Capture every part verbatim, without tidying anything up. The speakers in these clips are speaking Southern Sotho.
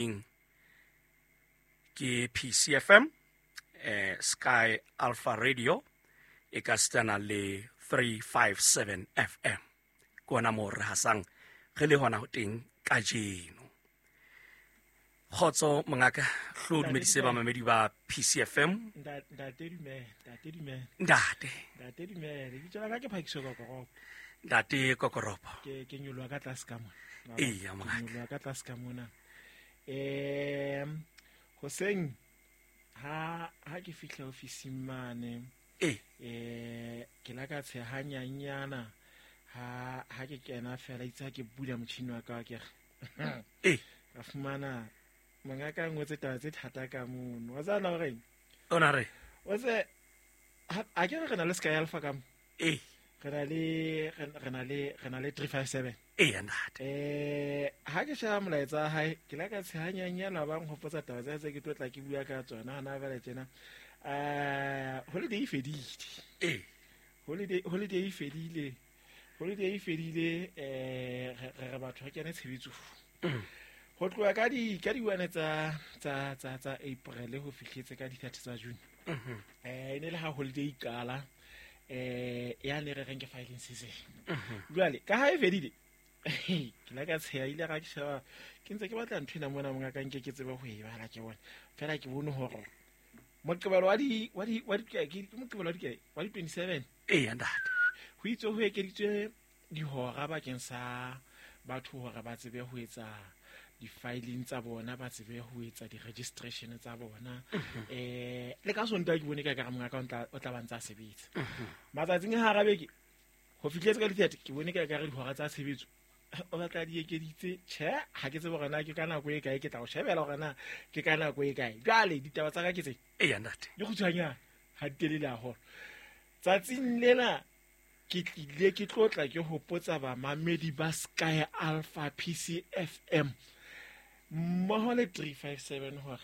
Ke P C F M, eh Sky Alpha Radio e ka stana le three five seven F M, ke ona moo re hasang re le hona ho teng kajeno. Kgotso mongaka, hlo dumedise bamamedi ba P C F M. Ntate dumela, ntate dumela. Ntate. Ntate dumela, lebitso la ka ke Phakiso Kokoropo. Ntate Kokoropo. Ke ke nyoloha ka tlase ka mona. Eya, mongaka. Ke nyoloha ka tlase ka mona. um hoseng ha ha ke fihla ofising mane, ee eh ke la ka tshehanyanyana ha ha ke kena fela, itse ha ke bula motjhini wa ka, ke re ee ka fumana mongaka a ngotse taba tse thata ka mono. Wa tsana horeng? O na re? Wa tse a ke re re na le Sky Alpha ka mo, ee re na le re na le re na le three five seven. Eya ntate. eh ha ke sheba molaetsa wa hae, ke la ka tshehanyanyana ba nghopotsa taba tsa tse ke tlo tla ke bua ka tsona hana jwale tjena. eh holiday e fedile. ee holiday holiday e fedile, holiday e fedile. eh re re batho re kene tshebetsong ho tloha ka di ka di-one tsa tsa tsa tsa April ho fihletse ka di-thirty tsa June. eh e ne le ha holiday e qala, eh ya ne re reng ke filing season. Jwale ka ha e fedile, ke la ka tsheha ile ga ke sheba, ke ntse ke batla ntho ena mona monga ka nke ke tsebe ho e bala, ke bone fela, ke bone hore Moqebelo wa di wa di wa di ke Moqebelo wa di kae, wa di twenty-seven. Eya ntate. Ho itse ho ekeditswe dihora bakeng sa batho hore ba tsebe ho etsa di-filing tsa bona, ba tsebe ho etsa di-registration tsa bona. eh le ka Sontaha ke bone ka kare mongaka o tla o tla ba ntse a sebetsa. Matsatsing a hara beke ho fihletse ka di-thirty, ke bone ka kare dihora tsa tshebetso o batla di ekeditse. Tjhe, ha ke tsebe hore na ke ka nako e kae, ke tla o shebela hore na ke ka nako e kae. Jwale ditaba tsa ka ke tse Eya ntate. di kgutshwanyane, ha di telele haholo. Tsatsing lena ke tlile ke tlo tla ke hopotsa bamamedi ba Sky Alpha, P C F M mmoho le three five seven hore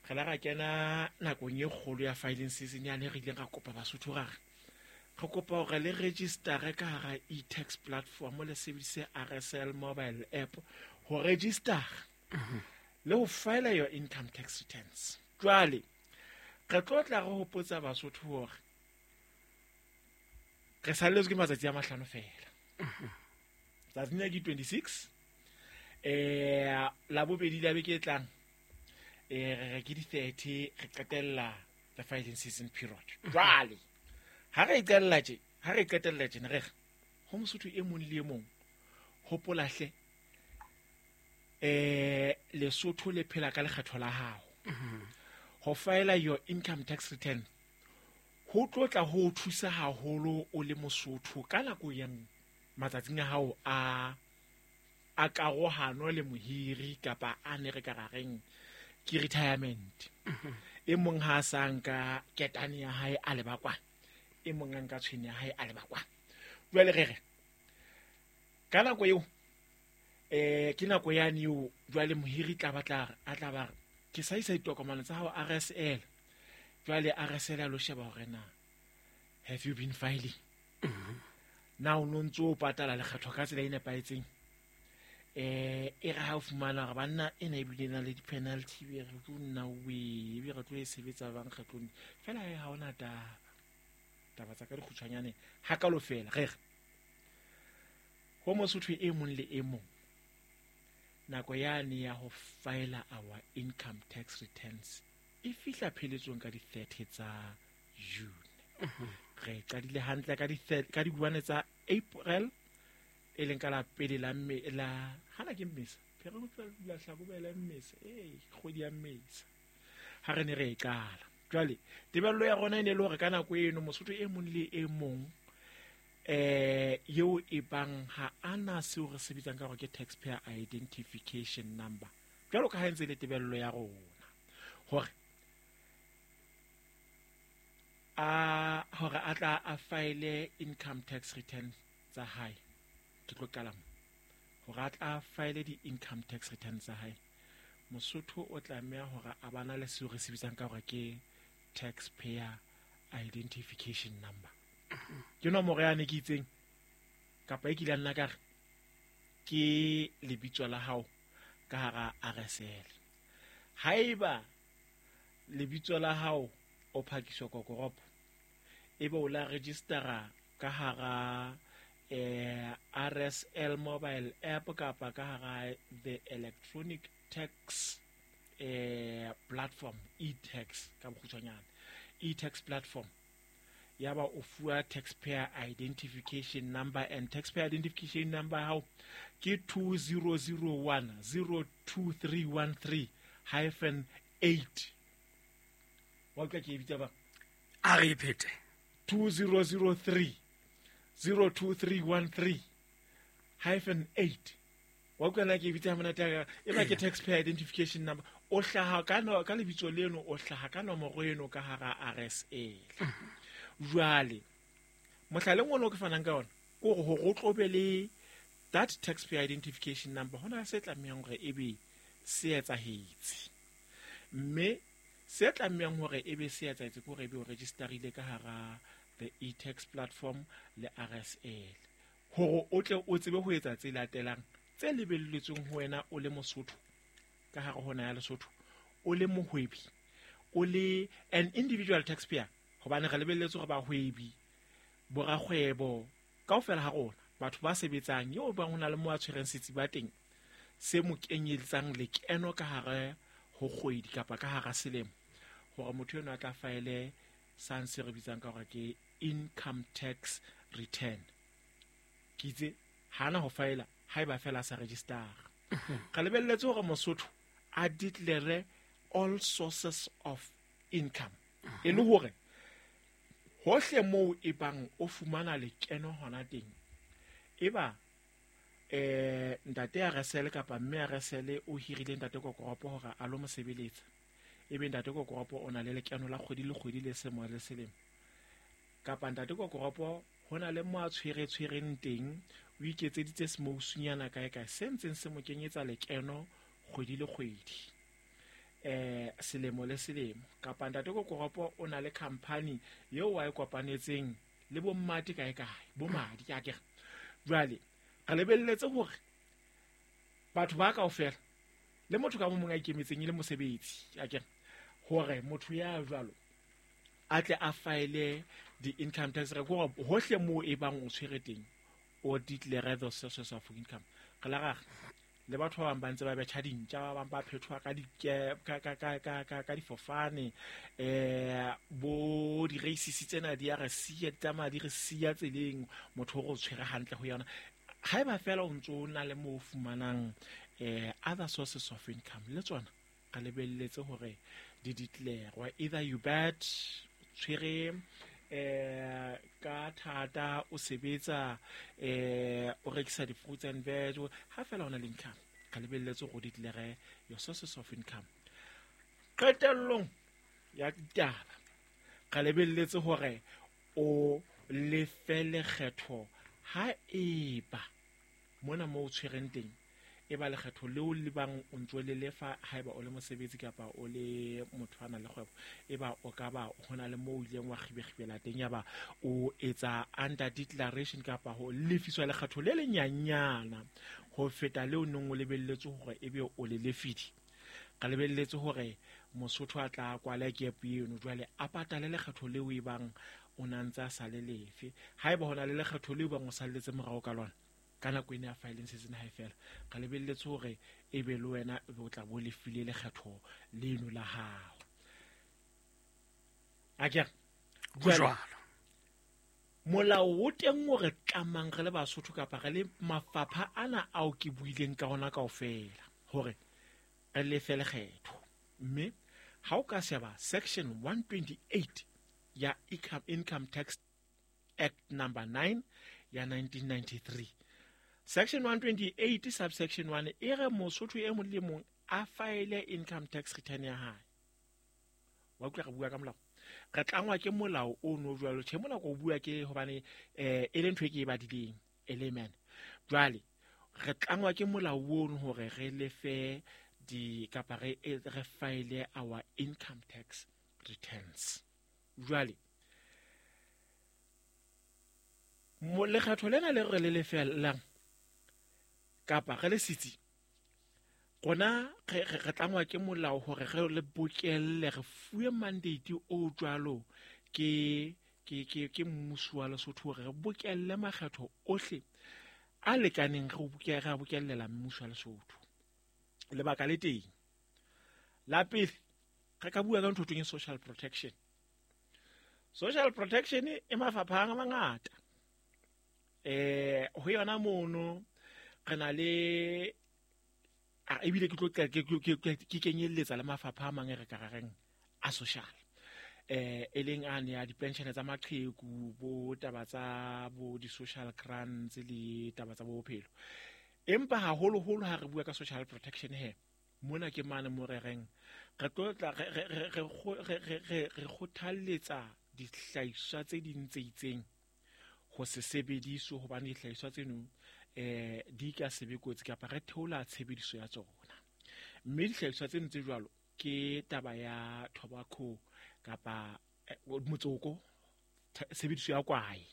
re la ra kena nakong e kgolo ya filing season yane re ileng ra kopa Basotho, ra re re kopa hore le registere ka hara e-tax platform, le sebedise R S L mobile app ho registera le ho file your income tax returns. Jwale re tlo tla re hopotsa Basotho hore re salletswe ke matsatsi a mahlano fela. Tsatsing la ke twenty-six, eh la bobedi la beke e tlang, eh re re ke di-thirty, re qetella the filing season period. Jwale ha re e qetella tje, ha re e qetella tjena, re re ho Mosotho e mong le e mong, hopola hle, eh Lesotho le phela ka lekgetho la hao. Ho file your income tax return ho tlo tla ho o thusa haholo o le Mosotho ka nako ya matsatsing a hao a a karohano le mohiri, kapa a ne re ka ra reng ke retirement. E mong ha a sa nka ketane ya hae a leba kwana, e mong a nka tshwene ya hae a leba kwana. Jwale re re ka nako eo, eh ke nako yane eo jwale mohiri tla batla a tla ba re ke sa isa ditokomane tsa hao R S L. Jwale R S L a lo sheba hore na have you been filing, na o no ntso o patala lekgetho ka tsela e nepahetseng. eh e re ha o fumana hore banna ena ebile na le di-penalty, be re tlo nna we ebe re tlo e sebetsa bang kgetlong fela e ha ona taba. Taba tsa ka dikgutshwanyane hakalo fela, re re ho Mosotho e mong le e mong, nako yane ya ho file our income tax returns e fihla pheletsong ka di-thirty tsa June. Re qadile hantle ka di ka di-one tsa April, e leng ka la pele la mme la hana ke Mmesa, Phere la Hlakubele, Mmesa, ee, kgwedi ya Mmesa ha re ne re e qala. Jwale tebello ya rona e ne le hore ka nako eno Mosotho e mong le e mong eh eo e bang ha ana seo re se bitsang ka hore ke taxpayer identification number, jwalo ka ha e ntse le tebello ya rona hore a hore a tla a file income tax return tsa hae. Ke tlo qala mo hore a tla file di-income tax return tsa hae, Mosotho o tlameha hore a bana le seo re se bitsang ka hore ke taxpayer identification number. Ke nomoro yane ke itseng kapa e kile nna ka re ke lebitso la hao. ka hara R S L. Haeba lebitso la hao o phakiswa kokoropo, ebe o la registera ka hara eh, R S L mobile app kapa ka hara the electronic tax eh, platform, e-tax ka bokgutshwanyane, e-tax platform, ya ba o fuwa taxpayer identification number, and taxpayer identification number hao ke two zero zero one zero two three one three hyphen eight. Wa utlwa ke e bitsa ba? A re phete. two zero zero three zero two three one three hyphen eight. Wa utlwa na ke e bitsa monate ya ka? E ba ke taxpayer identification number. O hlaha ka no, ka lebitso leno, o hlaha ka nomoro eno ka hara R S L. Jwale mohlaleng ono ke fanang ka ona ke hore hore o tlo be le that taxpayer identification number, hona se tlamehang hore ebe se etsahetse, mme se tlamehang hore ebe se etsahetse ke hore ebe o registerile ka hara the e-tax platform le R S L, hore o tle o tsebe ho etsa tse latelang tse lebelletsweng ho wena o le Mosotho ka hare ho naha ya Lesotho, o le mohwebi, o le an individual taxpayer, hobane re lebelletse hore bahwebi, borakgwebo kaofela ha rona, batho ba sebetsang, eo bang ho na le mo a tshwereng setsi ba teng se mo kenyeletsang lekeno ka hare ho kgwedi kapa ka hara selemo, hore motho eno a tla faele sang se re bitsang ka hore ke income tax return. Ke itse ha na ho faela haeba fela a sa registera. Re lebelletse hore Mosotho a declare all sources of income, e le hore hohle moo e bang o fumana lekeno hona teng, eba eh ntate a R S L kapa mme a R S L o hirile ntate Kokoropo hore a lo mo sebeletsa, ebe ntate Kokoropo o na le lekeno la kgwedi le kgwedi le selemo le selemo, kapa ntate Kokoropo ho na le mo a tshwere tshwereng teng, o iketseditse semousunyana kae kae se ntseng se mo kenyetsa lekeno kgwedi le kgwedi, eh selemo le selemo, kapa ntate Kokoropo o na le company eo wa e kopanetseng le bo mmate kae kae, bo madi ke akere. Jwale re lebelletse hore batho ba kaofela le motho ka mong a ikemetseng e le mosebetsi akere, hore motho ya jwalo a tle a file di-income tax record hohle moo e bang o tshwere teng, o declare the sources of income. Re la rara le batho ba bang ba ntse ba betjha dintja, ba bang ba phethoha ka di ka ka ka ka ka ka difofane, eh bo di-racist tsena di a re siya, di tsamaya di re siya tseleng, motho o re o tshwere hantle ho yona. Haeba fela o ntso o na le moo o fumanang eh other sources of income, le tsona re lebelletse hore di declare. Either you bet tshwere eh ka thata, o sebetsa eh o rekisa di-fruits and veg, ha fela o na le income, ka lebelletse hore o declare your sources of income. Qetellong ya ditaba, ka lebelletse hore o lefe lekgetho ha eba mona moo o tshwereng teng, e ba lekgetho leo le bang o ntso le lefa haeba o le mosebetsi kapa o le motho a nang le kgwebo, e ba o ka ba ho na le moo o ileng wa kgibekgibela teng, ya ba o etsa under declaration kapa ho lefiswa lekgetho le lenyanyana ho feta leo neng o lebelletse hore ebe o le lefidi. Ka lebelletse hore Mosotho a tla kwala gap eno, jwale a patale lekgetho leo e bang o na ntse a sa le lefe. Haeba ho na le lekgetho leo bang o salletse morao ka lona ka nako ena ya filing season ha e fela, ka lebelletse hore ebe le wena o tla bo lefile lekgetho leno la hao. Akere jwalo molao o teng o re tlamang re le Basotho kapa re le mafapha ana ao ke buileng ka ona kaofela hore re lefe lekgetho, mme ha o ka sheba section one twenty-eight ya Income Tax Act number nine ya nineteen ninety-three, section one twenty-eight subsection one e re Mosotho e mong le mong a file income tax return ya hae. Wa utlwa re bua ka molao, re tlangwa ke molao o no jwalo. Tjhe, mona ko bua ke hobane eh e le ntho e ke e badileng e le man. Jwale re tlangwa ke molao ono hore re lefe di kapa re re file our income tax returns. Jwale mo lekgetho lena le re le lefellang kapa re le sitsi, Rona re re tlangwa ke molao hore re le bokelle re fuwe mandate o jwalo ke ke ke ke mmuso wa Lesotho hore re bokelle makgetho ohle a lekaneng re bokelle re bokellela mmuso wa Lesotho. Lebaka le teng la pele re ka bua ka ntho e social protection. Social protection e mafapha a mangata. Eh ho yona mono re na le a ebile ke tlo ke kenyelletsa le mafapha a mang e re ka reng a social. Eh e leng a ne ya di-pension tsa maqheku bo taba tsa bo di-social grants le taba tsa bophelo. Empa haholoholo ha re bua ka social protection he mona ke mane mo re reng re tlo tla re re re re re kgothalletsa dihlahiswa tse ding tse itseng ho se sebediswe hobane dihlahiswa tseno eh di ka sebe kotsi kapa re theola tshebediso ya tsona. Mme dihlahiswa tseno tse jwalo ke taba ya tobacco kapa motsoko, tshebediso ya kwae.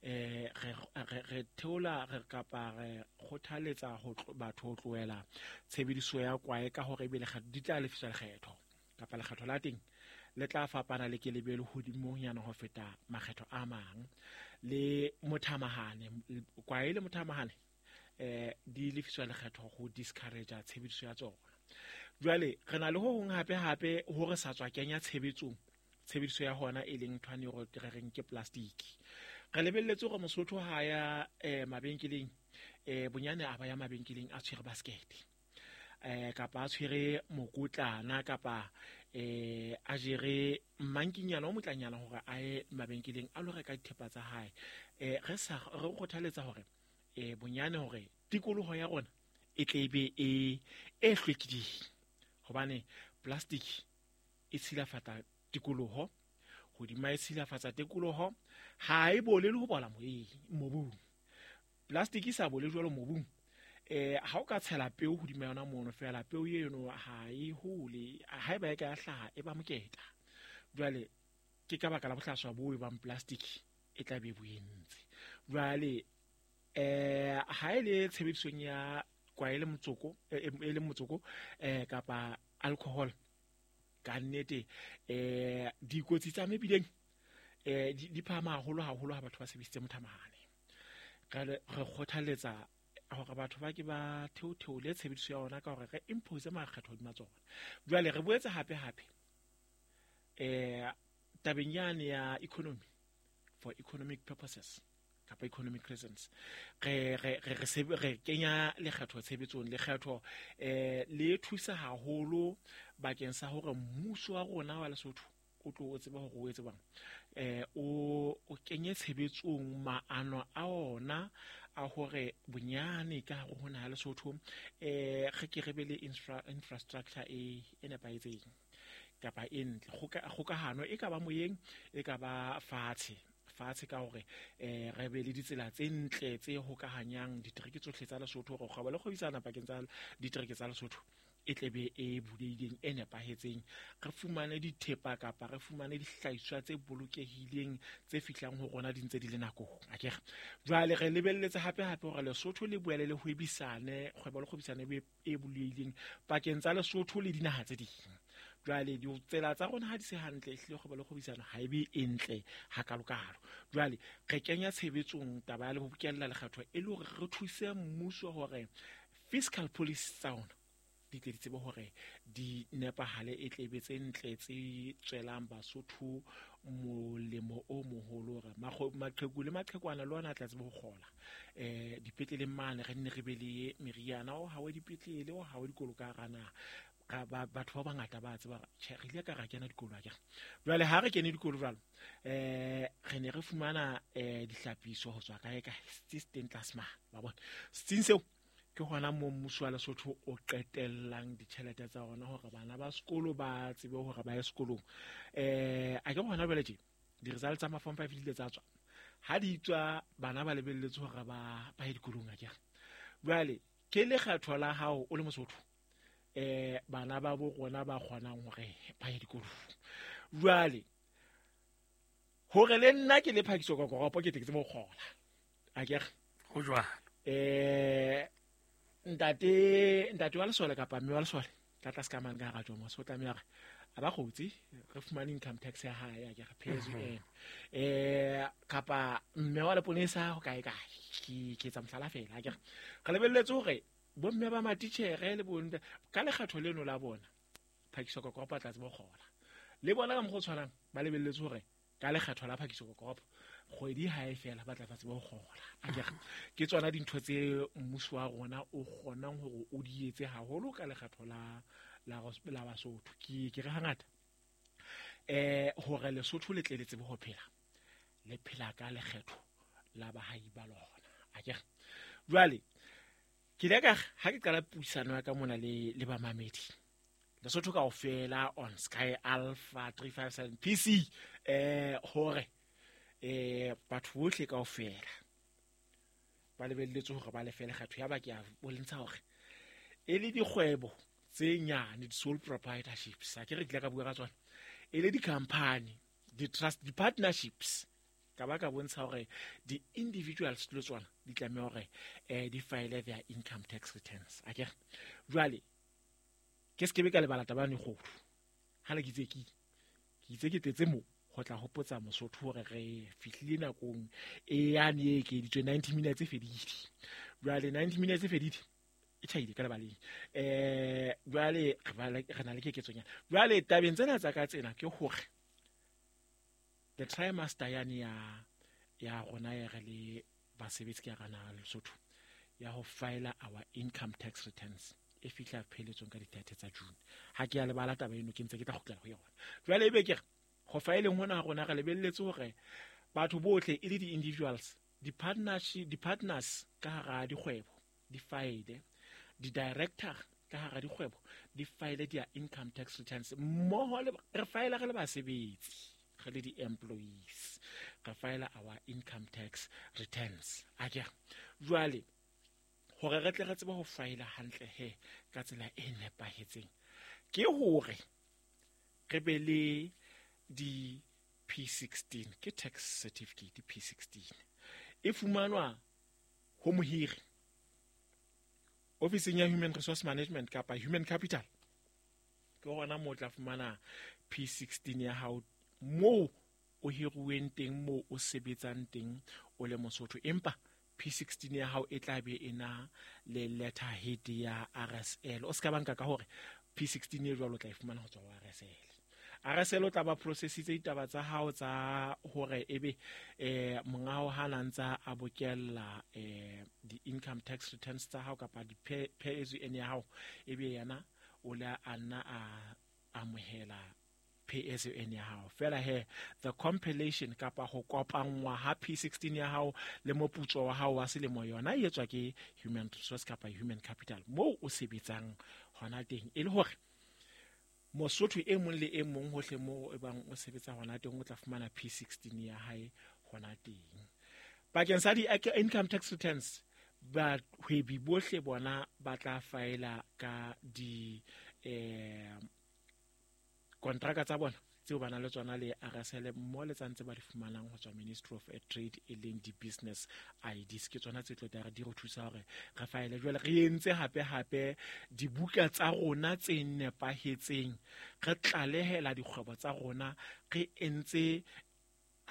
Eh re re theola re kapa re kgothaletsa ho batho ho tlohela tshebediso ya kwae ka hore ebe lekgetho di tla lefiswa lekgetho kapa lekgetho la teng le tla fapana le kelebelo hodimonyana ho feta makgetho a mang. Le mothamahane kwae le mothamahane eh di lefiswa lekgetho ho discourage tshebediso ya tsona. Jwale re na le ho hong hape hape hore sa tswa kenya tshebetsong tshebediso ya hona e leng nthwane hore re reng ke plastic. Re lebelletse hore Mosotho ha ya eh mabenkeleng eh bonyane a ba ya mabenkeleng a tshwere basket eh kapa a tshwere mokotlana kapa eh a jere mmankinyana o motlanyana hore a ye mabenkeleng a lo reka dithepa tsa hae. Eh re sa re kgothaletsa hore eh bonyane hore tikoloho ya rona e tle be e e hlwekileng hobane plastic e tshilafatsa tikoloho, hodima e tshilafatsa tikoloho ha e bole le ho bola moyeng mobung. Plastic e sa bole jwalo mobung eh ha o ka tshela peo hodima yona mono fela peo eno ha e hole, ha e ba e ka hlaha e ba moketa. Jwale ke ka baka la bohlaswa bo e bang plastic e tla be bo entse. Jwale eh ha e le tshebedisong ya kwae le motsoko e le motsoko eh kapa alcohol ka nnete eh dikotsi tsa mebileng eh di phahama haholo haholo ha batho ba sebedisitse mothamahane. Re re kgothaletsa hore batho ba ke ba theotheole tshebediso ya ona ka hore re impose makgetho hodima tsona. Jwale re boetse hape hape eh tabeng yane ya economy for economic purposes kapa economic reasons re re re re kenya lekgetho tshebetsong. Lekgetho eh le thusa haholo bakeng sa hore mmuso wa rona wa Lesotho o tlo o tseba hore o etse bang eh o o kenye tshebetsong maano a ona a hore bonyane ka hare ho naha Lesotho eh re ke re be le infrastructure e e nepahetseng kapa e ntle. Kgokahano e ka ba moyeng e ka ba fatshe fatshe ka hore eh re be le ditsela tse ntle tse hokahanyang ditereke tsohle tsa Lesotho hore kgwebo le kgwebisana pakeng tsa ditereke tsa Lesotho e tle be e bulehileng e nepahetseng. Re fumane dithepa kapa re fumane dihlahiswa tse bolokehileng tse fihlang ho rona di ntse di le nakong akere. Jwale re lebelletse hape hape hore Lesotho le boele le hwebisane kgwebo le kgwebisane e bulehileng pakeng tsa Lesotho le dinaha tse ding. Jwale ditsela tsa rona ha di se hantle ehlile kgwebo le kgwebisano ha e be e ntle hakalokalo. Jwale re kenya tshebetsong taba ya le ho bokella lekgetho e le hore re thuse mmuso hore fiscal policy tsa ona di tle di tsebe hore di nepahale e tle be tse ntle tse tswelang Basotho molemo o moholo hore maqheku le maqhekwana le ona a tla tsebe ho kgola eh dipetleleng mane re nne re be le meriana o hawe dipetlele o hawe dikolo ka hara naha. Batho ba bangata ba tseba tjhe re ile ka ra kena dikolo akere. Jwale ha re kene dikolo jwalo eh re ne re fumana eh dihlapiso ho tswa kae kae setsi teng tlase mane ba bona setsing seo ke hona moo mmuso wa Lesotho o qetellang ditjhelete tsa ona hore bana ba sekolo ba tsebe hore ba ye sekolong. Eh a ke hona jwale tje di-results tsa ma-form five di ile tsa tswa ha di tswa bana ba lebelletse hore ba ba ye dikolong akere. Jwale ke lekgetho la hao o le Mosotho eh bana ba bo rona ba kgonang hore ba ye dikolong. Jwale hore le nna ke le phakiso ka koropo ke tle ke tsebe ho kgola akere ho jwalo. Eh Ntate ntate wa lesole kapa mme wa lesole ka tlase ka mane ka hara jomo so tlameha hore a ba kgotsi re fumane income tax ya hae, a ke re pay as you earn. Eh kapa mme wa leponesa ho kae kae, ke ke etsa mohlala fela, a ke re re lebelletse hore bomme ba matitjhere le bontate ka lekgetho leno la bona phakiso kokopo tla tseba ho kgola le bona ka mokgwa o tshwanang, ba lebelletse hore ka lekgetho la phakiso kokopo kgwedi ha e fela ba tla tseba ho kgola. A ke re ke tsona dintho tse mmuso wa rona o kgonang hore o di etse haholo ka lekgetho la la la Basotho. Ke ke re hangata eh hore Lesotho le tle le tsebe ho phela, le phela ka lekgetho la bahai ba lona. A ke re jwale ke ile ka ha ke qala puisano ya ka mona le le bamamedi Lesotho kaofela on Sky Alpha three five seven P C eh hore eh batho bohle kaofela ba lebelletse hore ba lefe lekgetho. Ya ba ke a bontsha hore e le dikgwebo tse nyane, di-sole proprietorships, a ke re ke ile ka bua ka tsona, e le di-company, di-trust, di-partnerships, ka ba ka bontsha hore di-individuals le tsona di tlameha hore eh di file their income tax returns. A ke re jwale ke se ke be ka lebala taba yane kgolo ha le ke itse ke ke itse ke tletse mo ho tla hopotsa Mosotho hore re fihlile nakong e yane e ekeditswe ninety minutes e fedile. Jwale ninety minutes e fedile e tjhaile ka lebaleng. Eh jwale re na le keketsonyana. Jwale tabeng tsena tsa ka tsena ke hore the trimester yane ya ya rona ya re le basebetsi ke ya rana Lesotho ya ho file our income tax returns e fihla pheletsong ka di-thirty tsa June. Ha ke ya lebala taba eno, ke ntse ke tla kgutlela ho yona. Jwale ebe ke re ho fileng hona rona re lebelletse hore batho bohle e le di-individuals, di-partnership, di-partners ka hara dikgwebo di file, di-director ka hara dikgwebo di file their income tax returns mmoho le re file re le basebetsi, re le di-employees, re file our income tax returns. A ke jwale hore re tle re tsebe ho file hantle he ka tsela e nepahetseng ke hore re be le di P sixteen, ke tax certificate P sixteen e fumanwa ho mohiri ofising ya Human Resource Management kapa Human Capital. Ke hona moo o tla fumana P sixteen ya hao moo o hiruweng teng, moo o sebetsang teng o le Mosotho, empa P sixteen ya hao e tla be e na le letterhead ya R S L. O ska banka ka hore P sixteen e jwalo o tla e fumana ho tswa ho R S L. R S L o tla ba processitse ditaba tsa hao tsa hore ebe eh monga hao ha na ntsa a bokella eh di-income tax returns tsa hao kapa di-pay as you earn ya hao, ebe yena o la a nna a amohela pay as you earn ya hao. Fela he the compilation kapa ho kopanngwa ha P sixteen ya hao le moputso wa hao wa selemo yona e etswa ke Human Resource kapa Human Capital moo o sebetsang hona teng, e le hore Mosotho e mong le e mong hohle moo e bang o sebetsa hona teng o tla fumana P sixteen ya hae hona teng. Bakeng sa di-income tax returns, bahwebi bohle bona ba tla faela ka di eh kontraka tsa bona tseo ba nang le tsona le R S L mo le tsantse ba di fumanang ho tswa Ministry of Trade e leng di-business I Ds. Ke tsona tse tlo tla re di re thusa hore re faele. Jwale re entse hape hape dibuka tsa rona tse nepahetseng, re tlalehela dikgwebo tsa rona, re entse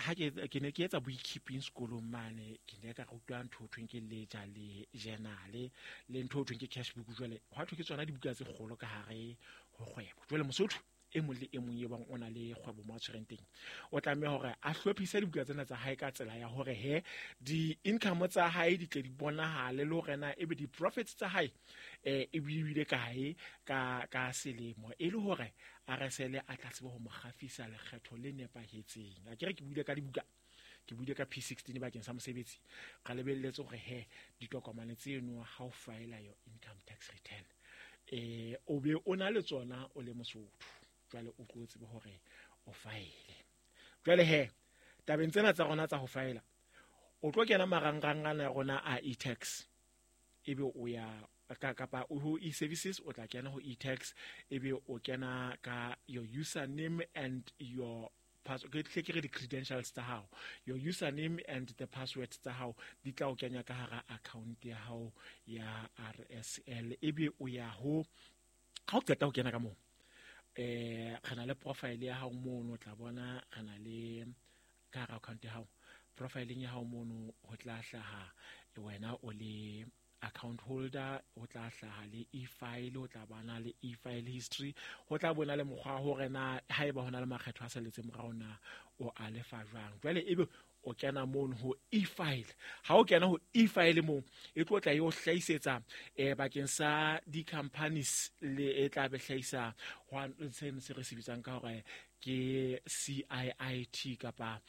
ha ke ke ne ke etsa bookkeeping sekolong mane, ke ne ka rutwa ntho ho thweng ke ledger le journal le ntho ho thweng ke cash book. Jwale hwa thwe ke tsona dibuka tse kgolo ka hare ho kgwebo. Jwale Mosotho e mong le e mong e bang o na le kgwebo mo a tshwereng teng o tlameha hore a hlophise dibuka tsena tsa hae ka tsela ya hore he di-income tsa hae di tle di bonahale le hore na ebe di-profits tsa hae eh e bile kae ka ka selemo, e le hore R S L a tla tsebe ho mo kgafisa lekgetho le nepahetseng. A ke re ke buile ka dibuka, ke buile ka P sixteen bakeng sa mosebetsi, re lebelletse hore he ditokomane tseno ha o file your income tax return eh o be o na le tsona o le Mosotho, jwale o tlo tsebe hore o file. Jwale he tabeng tsena tsa rona tsa ho faela, o tlo kena marangrang ana rona a e-tax, ebe o ya kapa ho e-services, o tla kena ho e-tax, ebe o kena ka your username and your ke tle ke re di-credentials tsa hao, your username and the password tsa hao di tla o kenya ka hara account ya hao ya R S L. Ebe o ya ho ha o qeta ho kena ka moo, eh re na le profile ya hao mono, o tla bona re na le ka hara account ya hao. Profileng ya hao mono ho tla hlaha wena o le account holder, o tla hlaha le e-file, o tla bana le e-file history, ho tla bona le mokgwa hore na haeba hona le makgetho a salletse morao na o a lefa jwang. Jwale ebe o kena mono ho e-file. Ha o kena ho e-file moo, e tlo tla e o hlahisetsa eh bakeng sa di-companies le e tla be hlahisa ho se se re se bitsang ka hore ke C I I T kapa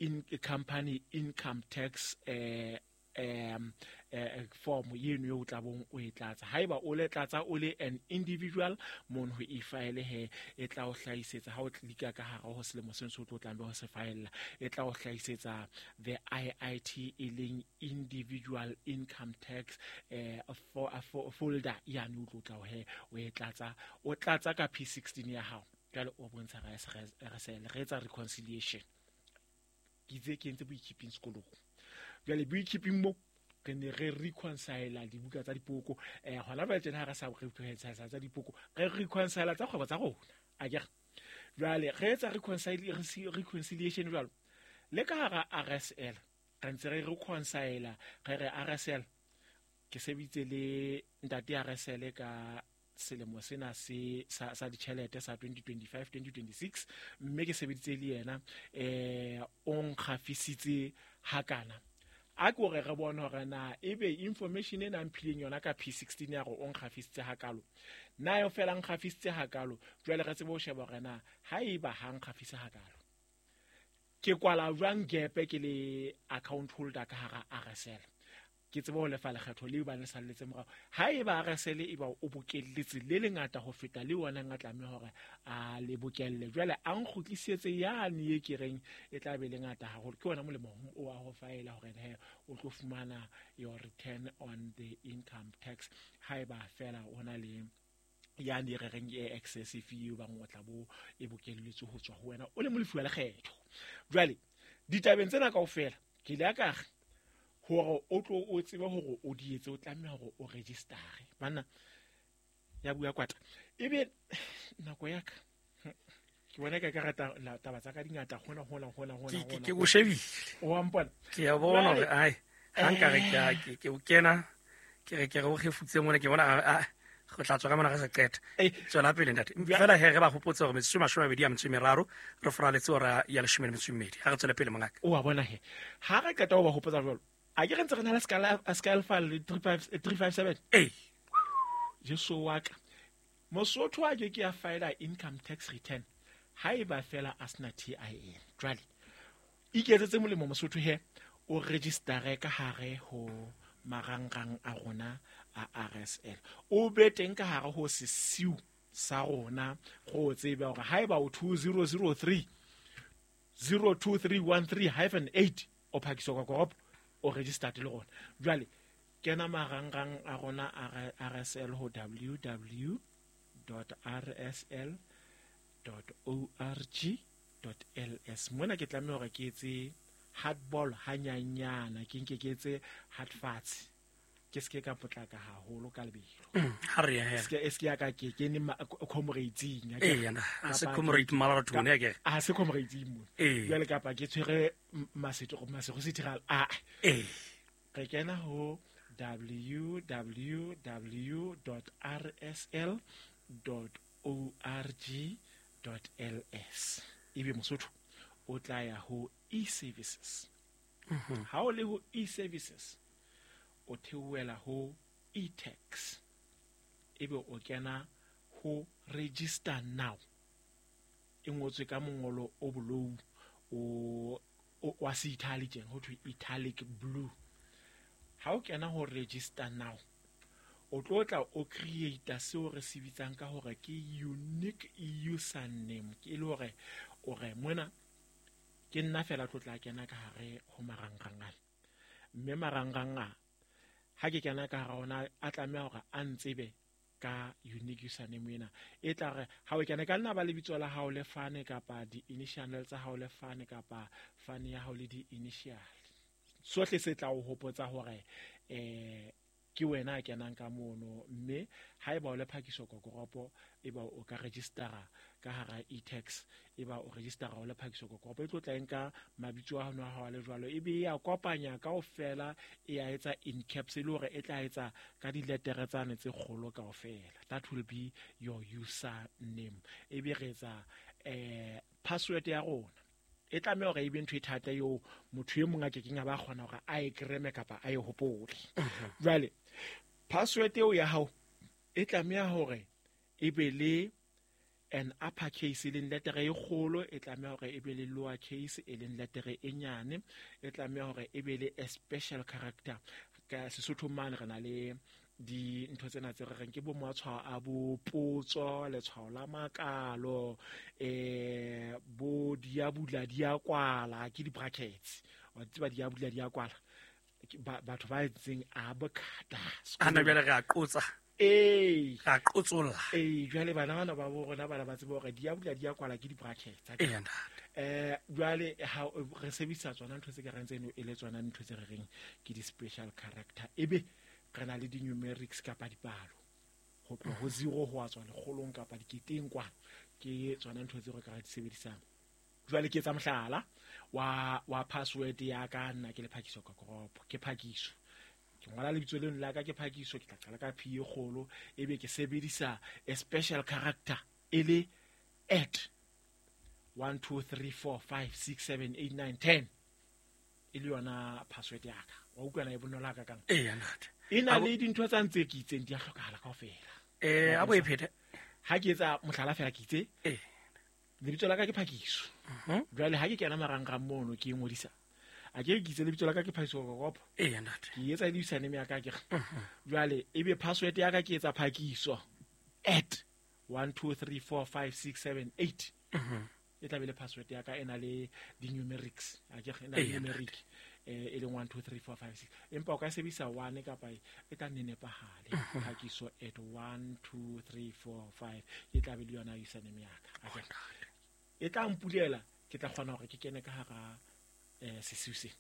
in company income tax eh um eh form yeno eo tla bong o e tlatsa. Haeba o le tlatsa o le an individual mono ho e-file he e tla o hlahisetsa ha o klika ka hara ho selemo seno se o tlo tlang be ho se file, e tla o hlahisetsa the I I T e leng individual income tax eh for, for folder yane o tlo tla he o e tlatsa, o tlatsa ka P sixteen ya hao. Jwale o bontsha re re re etsa reconciliation. Ke itse ke entse boikeeping sekolong. Jwale boikeeping mo re ne re reconcile dibuka tsa dipoko, eh hona jwale tjena ha re sa reconcile tsa dipoko, re reconcile tsa kgwebo tsa rona. Akere jwale re etsa reconcile reconciliation jwalo le ka hara R S L re ntse re reconcile, re re R S L ke sebitse le ntate R S L ka selemo sena se sa sa ditjhelete sa twenty twenty-five twenty twenty-six, mme ke sebeditse le yena eh o nkgafisitse hakana. A ke hore re bone hore na ebe information ena mphileng yona ka P sixteen ya hore o nkgafisitse hakalo, na yo fela nkgafisitse hakalo. Jwale re tsebe ho sheba hore na haeba ha nkgafise hakalo ke kwala jwang gap ke le account holder ka hara R S L, ke tsebe ho lefa lekgetho leo ba le salletse morao. Haeba R S L e ba o bokelletse le lengata ho feta le wona nga tlameha hore a le bokelle, jwale a nkgutlisetse yane e ke reng e tla be le ngata haholo. Ke wona molemo o wa ho faela hore he o tlo fumana your return on the income tax haeba fela o na le yane re reng e excessive eo bang o tla bo e bokelletse ho tswa ho wena o le molefi wa lekgetho. Jwale ditabeng tsena kaofela ke ile ka re hore o tlo o tsebe hore o di etse, o tlameha hore o register-e. Banna ya bua kwata ebe nako ya ka ke bona ka ka rata taba tsa ka dingata hona hona hona hona ke ke o shebile o a mpona ke ya bona hore ai ha nka re ke ke o kena ke re ke re o kgefutse mona ke bona a go tla tswa ka mona re sa qeta. Tswela pele ntate. Fela he re ba hopotse hore metsotso e mashome a mabedi a metso e meraro re foraletse hora ya leshome le metso e mmedi. Ha re tswele pele mongaka. O a bona he ha re qeta ho ba hopotsa jwalo, a ke re ntse re na le Sky Alpha le three five seven. Eh Jesu wa ka Mosotho a ke ke ya file income tax return haeba fela a sena T I N. Jwale iketsetse molemo Mosotho he o registere ka hare ho marangrang a rona a R S L, o be teng ka hare ho sesiu sa rona go tsebe hore haeba o two zero zero three zero two three one three hyphen eight o phakiswa ka koropo o registered le rona. Jwale kena marangrang a rona a R S L ho w w w dot r s l dot org dot l s. Mona ke tlameha hore ke etse hardball hanyanyana, ke nke ke etse hard fatshe, ke se ke ka potlaka haholo ka lebelo. Ha re ya he se ke se ke ya ka ke ke ne comrades-ing eh yana a se comrade marathon ya ke a se comrades-ing mo jwale kapa ke tshwere masetho masego setiral a eh re kena ho w w w dot r s l dot org dot l s. Ebe Mosotho o tla ya ho e-services. Ha o le ho e-services o theohela ho e-tax, ebe o kena ho register now e ngotswe ka mongolo o bolou o wa se italic, ho thwe italic blue. Ha o kena ho register now o tlo tla o create seo re se bitsang ka hore ke unique username, ke le hore o re mona ke nna fela tlo tla kena ka hare ho marangrang ana, mme marangrang a ha ke kena ka hara ona a tlameha hore a ntsebe ka unique username ena. E tla re ha o kena ka nna ba lebitso la hao le fane kapa di-initial tsa hao le fane kapa fane ya hao le di-initial. Sohle se tla o hopotsa hore eh ke wena a kenang ka mono, mme haeba o le Phakiso Kokoropo eba o ka registera ka hara e-tax, eba o registera o le Phakiso Kokoropo e tlo tla nka mabitso a hao ha le jwalo, ebe ya kopanya kaofela e ya etsa in caps e le hore e tla etsa ka diletere tsane tse kgolo kaofela. That will be your username. Ebe re etsa eh password ya rona e tlameha hore e be ntho e thata eo motho e mong a kekeng a ba kgona hore a e kreme kapa a e hopole. Jwale password eo ya hao e tlameha hore e be le an upper case e leng letere e kgolo, e tlameha hore e be le lower case e leng letere e nyane, e tlameha hore e be le a special character. Ka Sesotho mane re na le dintho tsena tse re reng ke bo matshwao a bo potso, letshwao la makalo, eh bo diabula di a kwala ke di-brackets. Wa tseba diabula di a kwala, batho ba entseng a bokata ana jwale re a qotsa. Ee, re a qotsolla. Ee, jwale bana bana ba bo rona bana ba tseba hore diabula di a kwala ke di-brackets. Ee, ntate. Eh jwale ha re sebedisa tsona ntho tse ka reng tseno e le tsona ntho tse re reng ke di-special character, ebe re na le di-numerics kapa dipalo ho tloha ho zero ho tswa lekgolong kapa diketeng kwana, ke tsona ntho tseo re ka di sebedisang. Jwale ke etsa mohlala wa wa password ya ka, nna ke le Phakiso Kokoropo, ke Phakiso, ke ngola lebitso leno la ka ke Phakiso, ke tla qala ka P e kgolo, ebe ke sebedisa a special character e le at one two three four five six seven eight nine ten e le yona password ya ka. Wa utlwa na e bonolo ha kakang? Ee, ntate. E na le dintho tsa ntse ke itseng di a hlokahala kaofela. Eh, a bo e phete. Ha ke etsa mohlala fela ke itse. Eh. Lebitso la ka ke Phakiso. Jwale ha ke kena marangrang mono ke ngodisa. A ke ke itse lebitso la ka ke Phakiso Kokoropo. Ee, ntate. Ke etsa le username ya ka ke re. Jwale ebe password ya ka ke etsa Phakiso at one two three four five six seven eight. E tla be le password ya ka e na le di-numerics. A ke re e na le numeric eh e leng one two three four five six. Empa o ka sebedisa one kapa e tla nne nepahale. Phakiso at one two three four five e tla be le yona username ya ka. E tla mpulela, ke tla kgona hore ke kene ka hara eh sesiu se.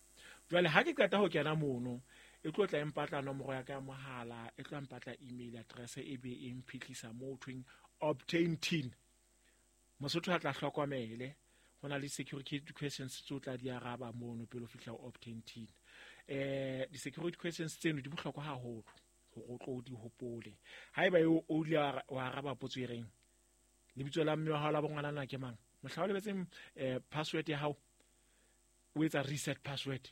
Jwale ha ke qeta ho kena mono, e tlo tla empatla nomoro ya ka ya mohala, e tlo mpatla email address, e be e mphihlisa mo thweng obtain T I N. Mosotho a tla hlokomele, ho na le security questions tse o tla di araba mono pele o fihla ho obtain T I N. Eh di-security questions tseno di bohlokwa haholo hore o tlo di hopole. Haeba o o ile wa araba potso e reng lebitso la mme wa hao la bongwanana ke mang, mohla o lebetseng eh password ya hao, o etsa reset password,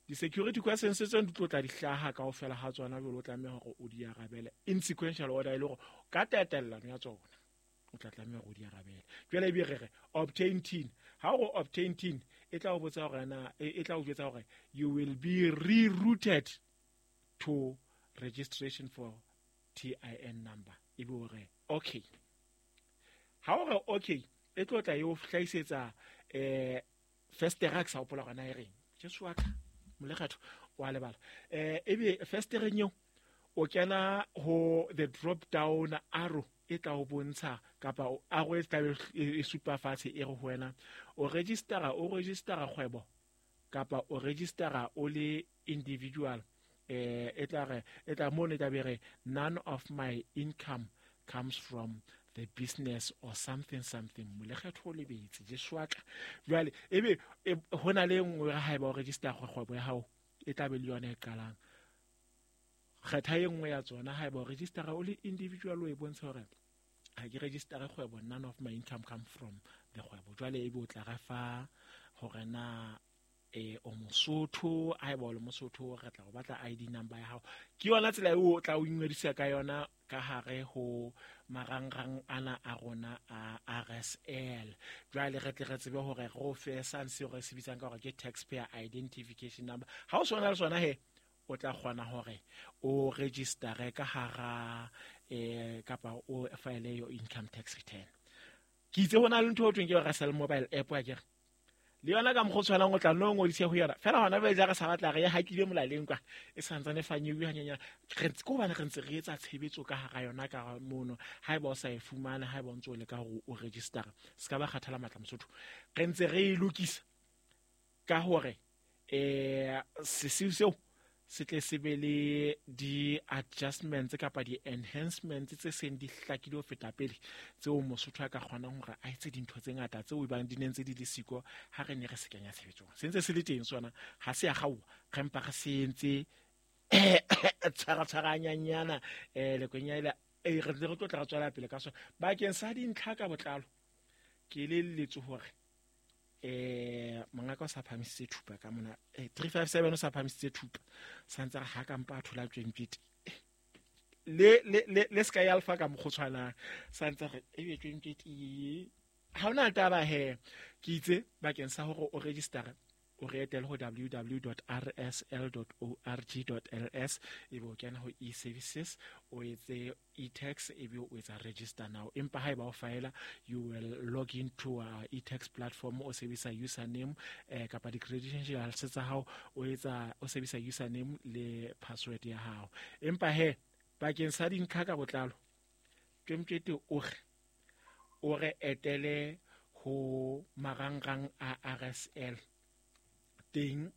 di-security questions tseno di tlo tla di hlaha kaofela ha tsona, jwale o tlameha hore o di arabele in sequential order, e le hore ka tatellano ya tsona o tla tlameha hore o di arabele. Jwale ebe re re obtain T I N. Ha o obtain T I N e tla o botsa hore na e tla o jwetsa hore you will be rerouted to registration for T I N number. Ebe o re okay. Ha o re okay, e tlo tla e o hlahisetsa eh festere ke sa hopola hore na e reng. Jesu wa ka molekgetho wa lebala. Eh ebe festereng eo o kena ho the drop down arrow e tla o bontsha kapa arrow e tla e supa fatshe e re ho wena o registera o registera kgwebo kapa o registera o le individual. Eh e tla re e tla mo ne tla be re none of my income comes from the business or something something. Molekgetho o lebetse Jesu wa ka. Jwale ebe hona le nngwe ha eba o register kgwebo ya hao e tla be le yona e qalang. Kgetha e nngwe ya tsona. Ha eba o registera o le individual o e bontsha hore ha ke registera kgwebo, none of my income come from the kgwebo. Jwale ebe o tla re fa hore na eh o Mosotho, ha eba o le Mosotho re tla o batla I D number ya hao. Ke yona tsela eo o tla o ingodisa ka yona ka hare ho marangrang ana a rona a R S L. Jwale re tle re tsebe hore re o fe sane seo re se bitsang ka hore ke taxpayer identification number. Ha o sona le sona he, o tla kgona hore o registere ka hara eh kapa o file your income tax return. Ke itse hona le ntho ho thweng ke R S L mobile app, wa kere Le yona ka mokgwa o tshwanang o tla nno ngodise ho yona fela hona jwale ja re sa batla re ya hakile molaleng kwa e santsane fanyewe hanyenyana re ntse ko hobane re ntse re etsa tshebetso ka hara yona ka mono. Haeba o sa e fumane, haeba o ntso o leka hore o register, se ka ba kgathala matla Mosotho. Re ntse re e lokisa ka hore eh sesiu seo se tle se be le di-adjustments kapa di-enhancements tse seng di hlakile ho feta pele, tseo Mosotho a ka kgonang hore a etse dintho tse ngata tseo ebang di ne ntse di le siko ha re ne re se kenya tshebetsong. Se ntse se le teng sona, ha se ya kgaoha, re mpa re se entse tshwara-tshwaranyanyana um lekwenya ela re ntse re tlo tla re tswela pele ka sona. Bakeng sa dintlha ka botlalo ke elelletswe hore eh mongaka o sa phamisitse thupa ka mona eh three five seven o sa phamisitse thupa santse re ha ka mpa a thola twenty le le le le Sky Alpha ka mokgotshwana santse re ebe twenty ha ona taba he ke itse bakeng sa hore o register o re etele ho w w w dot r s l dot org dot l s ebe o kena ho e-services o etse e-tax ebe o etsa register now. Empa haeba o faela, you will log into our e-tax platform o sebedisa username eh, kapa di-credentials tsa hao o etsa o sebedisa username le password ya hao. Empa he bakeng sa dintlha ka botlalo Tjemtjete o re o re etele ho marangrang a R S L teng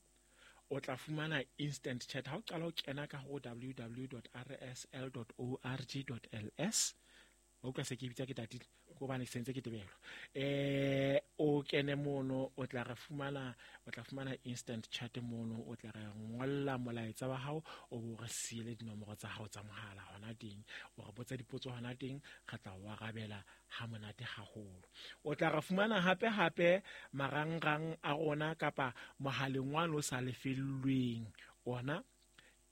o tla fumana instant chat ha o qala o kena ka ho w w w dot r s l dot org dot l s. O utlwa se ke bitsa ke tatile ko hobane se ntse ke tebelwa. Eh o kene mono o tla re fumana o tla fumana instant chat mono, o tla re ngolla molaetsa wa hao o bo re siele dinomoro tsa hao tsa mohala hona teng, o re botsa dipotso hona teng, re tla o arabela ha monate haholo. O tla re fumana hape hape marangrang a rona kapa mohaleng wa o sa lefellweng ona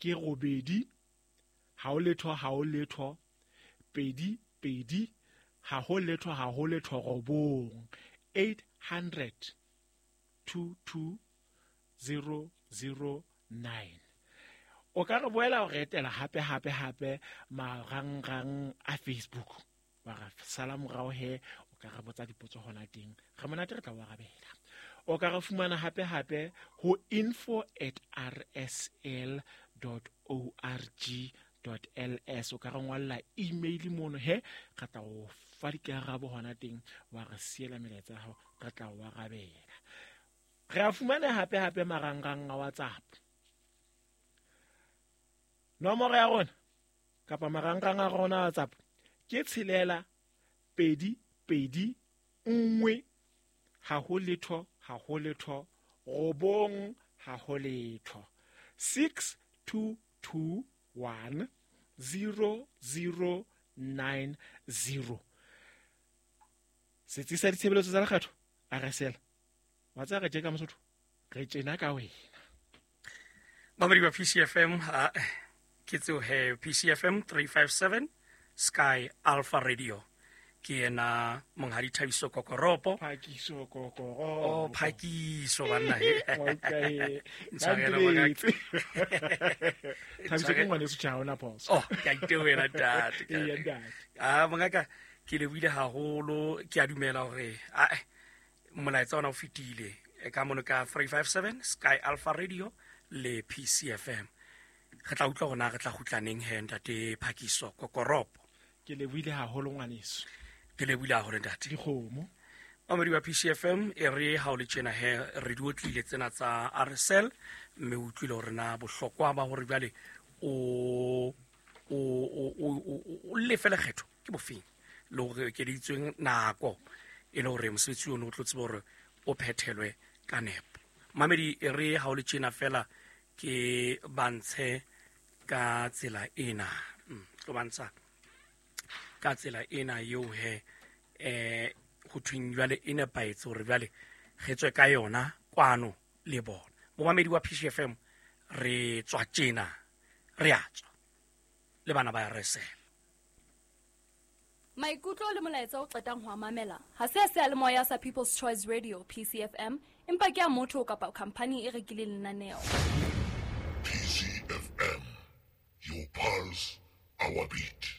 ke robedi ha o letho ha o letho pedi pedi ha ho letho ha ho letho robong eight hundred two two zero zero nine. O ka re boela o re etela hape hape hape marangrang a Facebook wa re sala morao he o ka re botsa dipotso hona teng, re monate re tla o arabela. O ka re fumana hape hape ho info at r s l dot org dot l s. O ka re ngolla email mono he re tla o fa dikarabo hona teng, wa re siela melaetsa ya hao re tla o arabela. Re a fumana hape hape marangrang a WhatsApp. Nomoro ya rona kapa marangrang a rona a WhatsApp ke tshelela pedi pedi nngwe ha ho letho ha ho letho robong ha ho letho six two two one zero zero nine zero. Setsi sa ditshebeletso tsa lekgetho R S L wa tsaya re tjeka Mosotho re tjena ka wena. Mamedi wa P C F M ke tseo he P C F M three five seven Sky Alpha Radio ke yena monghadi Thabiso Kokoropo. Phakiso Kokoropo. Oh, Phakiso banna he. Okay. Thabiso ke ngwaneso tjha ona phoso. Oh, ke a itewela ntate. Ee, ntate. Ah, mongaka ke lebohile haholo, ke a dumela hore ah molaetsa ona o fetile ka mono ka three five seven Sky Alpha Radio le P C F M. Re tla utlwa hore na re tla kgutlaneng he ntate Phakiso Kokoropo. Ke lebohile haholo ngwaneso. Ke lebohile haholo ntate. Dikgomo. Mamedi wa P C F M e re ha o le tjena he re di otlile tsena tsa R S L mme o utlwile hore na bohlokwa ba hore jwale o o o o lefe lekgetho ke bofeng le hore ekeditsweng nako e le hore mosebetsi ono o tlo tseba hore o phethelwe ka nepo. Mamedi e re ha o le tjena fela ke bantshe ka tsela ena. Tlo bantsha ka tsela ena eo he eh ho thweng jwale e nepahetse hore jwale re tswe ka yona kwano le bona. Momamedi wa P C F M re tswa tjena re a tswa le bana ba R S L. Maikutlo le molaetsa o qetang ho mamela ha se a seyalemoya sa People's Choice Radio P C F M empa ke a motho kapa company e rekileng lenaneo. P C F M, your pulse, our beat.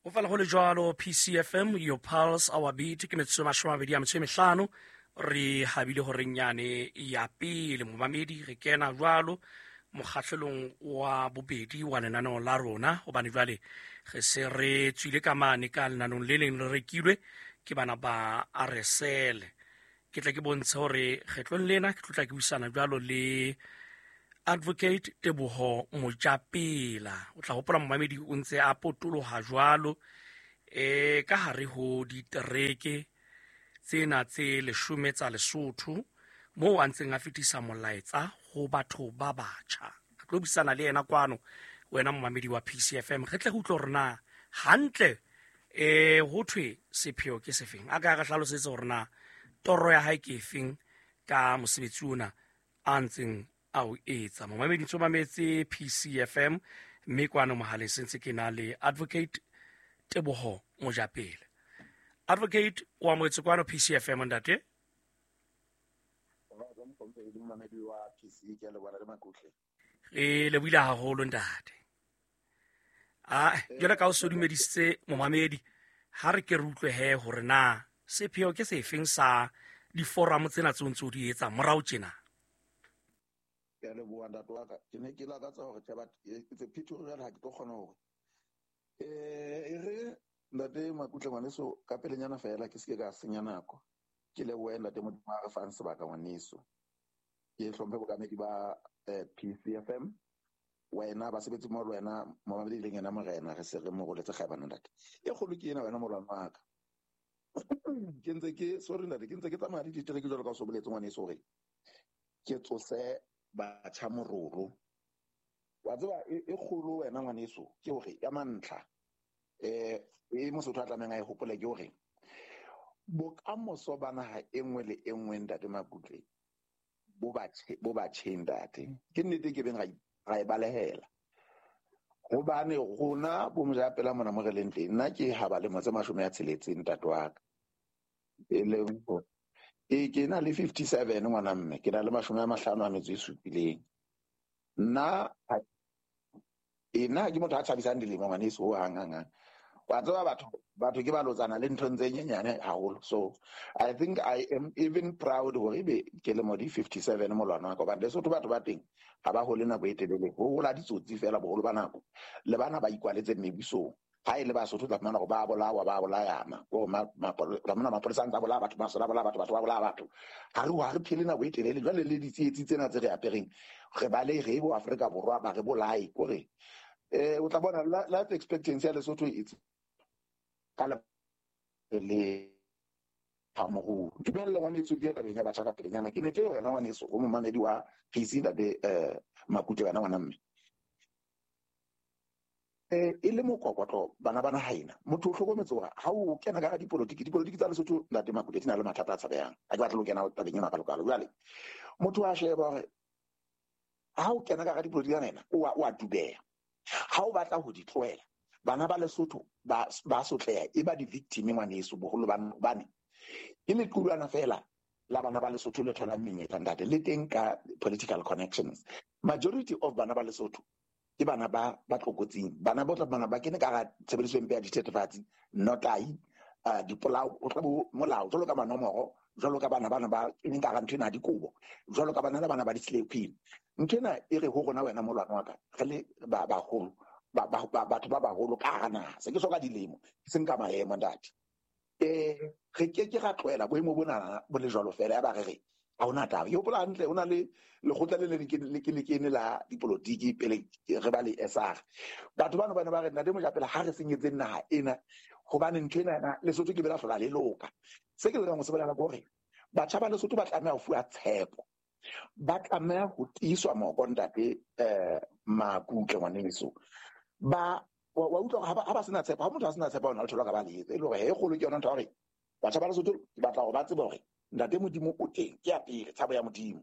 Ho fela ho le jwalo P C F M, your pulse, our beat. Ke metsotso e mashome a mabedi a metso e mehlano Re habile horeng yane ya pele momamedi re kena jwalo mokgahlelong wa bobedi wa lenaneo la rona, hobane jwale re se re tswile ka mane ka lenanong le leng le rekilwe ke bana ba R S L. Ke tla ke bontshe hore kgetlong lena ke tlotla ke buisana jwalo le Advocate Teboho Mojapela. O tla hopola momamedi o ntse a potoloha jwalo e ka hare ho ditereke tsena tse leshome tsa Lesotho, moo a ntseng a fetisa molaetsa ho batho ba batjha. Re tlo buisana le yena kwano, wena momamedi wa P C F M, re tle re utlwe hore na hantle eh ho thwe sepheo ke sefeng. A ka re hlalosetse hore na toro ya hae ke efeng ka mosebetsi ona a ntseng a o etsa. Momamedi ntse o mametse P C F M, mme kwano mohaleng sentse ke na le Advocate Teboho Mojapele. Advocate, o amohetse kwano P C F M ntate? Re lebohile haholo ntate. Ah, jwale ka o so dumedisitse momamedi, ha re ke re utlwe he hore na sepheo ke sefeng sa diforamo tsena tseo ntse o di etsa morao tjena. Ke a leboha ntate wa ka. Ke ne ke lakatsa hore tjhe, but it's a pity hore jwale ha ke tlo kgona hore eh e re ntate Makutle ngwaneso ka pelenyana fela ke seke ka senya nako. Ke lebohe ntate Modimo a re fang sebaka ngwaneso. Ke hlomphe bokamedi ba P C F M, wena basebetsi mo le wena momamedi e leng yena morena, re se re mo roletse kgaebana ntate. E kgolo ke ena wena molwana wa ka. Ke ntse ke sorry ntate, ke ntse ke tsamaya le ditereke jwalo ka o so boletse ngwaneso hore ke tsose batjha mororo. Wa tseba e kgolo wena ngwaneso ke hore ya mantlha eh e Mosotho a tlamehang a e hopole ke hore bokamoso ba naha e nngwe le e nngwe ntate Makutle bo batjhe bo batjheng ntate. Ke nnete ke beng ra e balehela hobane rona bo Mojapela mona mo re leng teng, nna ke ha ba lemo tse mashome a tsheletseng ntate wa ka, e leng e ke na le fifty-seven ngwana mme, ke na le mashome a mahlano a metso e supileng. Nna e nna ke motho a thabisang dilemo ngwaneso ho hang hang hang. Wa tseba batho batho ke ba lotsana le nthong tse nyenyane haholo. So I think I am even proud hore ebe ke lemo di fifty-seven molwana wa ka, hobane Lesotho batho ba teng ha ba hole nako e telele, ho hola ditsotsi fela boholo ba nako, le bana ba ikwaletse mebusong. Ha e le Basotho tla fumana hore ba bolawa, ba bolayana, ko mapolesa mapolesa a ntse a bolaya batho, masole a bolaya batho, batho ba bolaya batho. Ha re ha re phele nako e telele. Jwale le ditsietsi tsena tse re apereng, re balehe bo Afrika Borwa ba re bolaye kore eh o tla bona life expectancy ya Lesotho it's ka le phamoro. Dumella ngwaneso ke tabeng ya batjha ka pelenyana. Ke ne ke wena ngwaneso o momamedi wa P C ntate eh Makutle wena ngwana mme. Eh e le mokokotlo bana bana haena motho o hlokometse hore ha o kena ka dipolotiki, dipolotiki tsa Lesotho ntate Makutle di na le mathata a tshabehang. Ha ke batle ho kena tabeng ena ka lokalo. Jwale motho a sheba hore ha o kena ka dipolotiki tsena o a o a dubeha. Ha o batla ho di tlohela, bana ba Lesotho ba ba sotleha e ba di-victim ngwaneso boholo ba bane ke lequlwana fela la bana ba Lesotho le tholang menyetla ntate, le teng ka political connections. Majority of bana ba Lesotho ke bana ba ba tlokotsing, bana ba tla bana ba kene ka tshebediso e mpe ya dithethefatsi, notai, uh, dipolao, o tla bo molao jwalo ka manomoro, jwalo ka bana bana ba keneng ka ntho ena ya dikobo, jwalo ka bana le bana ba di-slay queen. Ntho ena e re ho rona wena molwana wa ka, re le ba baholo, ba ba batho ba baholo ka hara naha, se ke soka dilemo, ke seng ka maemo ntate. Eh re ke ke ra tlohela boemo bona bo le jwalo fela ya ba re re ha hona taba. Ke hopola hantle ho na le lekgotla le le le ke le kene la dipolotiki pele re ba le S R. Batho bano bana ba re ntate Mojapela ha re senyetseng naha ena, hobane ntho ena Lesotho ke bela hlola le loka. Se ke lekang ho se bolela ke hore batjha ba Lesotho ba tlameha ho fuwa tshepo, ba tlameha ho tiiswa moko ntate eh Makutle ngwaneso. Ba wa utlwa ha ba sena tshepo, ha motho a sena tshepo ona le thola ka ba le etsa e le hore he kgolo ke yona ntho ya hore batjha ba Lesotho ke batla hore ba tsebe hore ntate Modimo o teng, ke ya pele tshabo ya Modimo.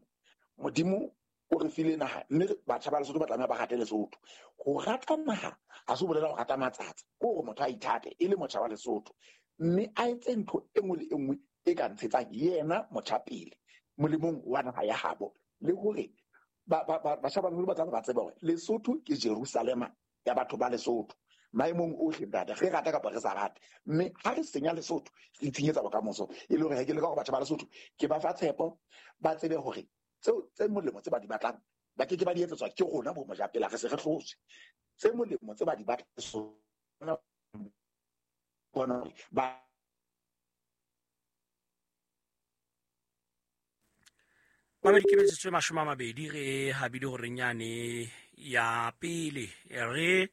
Modimo o re file naha, mme batjha ba Lesotho ba tlameha ba rate Lesotho. Ho rata naha ha se ho bolela ho rata matsatsi, ke hore motho a ithate e le motjha wa Lesotho, mme a etse ntho e nngwe le e nngwe e ka ntshetsang yena motjha pele molemong wa naha ya habo, le hore batjha ba Lesotho ba tlameha ba tsebe hore Lesotho ke Jerusalema ya batho ba Lesotho. Maemong ohle ntate, re rata kapa re sa rate. Mme ha re senya Lesotho, re itshenyetsa bokamoso. E le hore ha ke leka hore batjha ba Lesotho ke ba fa tshepo, ba tsebe hore tseo tse molemo tse ba di batlang ba ke ke ba di etsetswa ke rona bo mojapela, re se re hlotse. Tse molemo tse ba di batlang bona ba Mamedi ke metsotso e mashome a mabedi re habile hore nyane ya pele re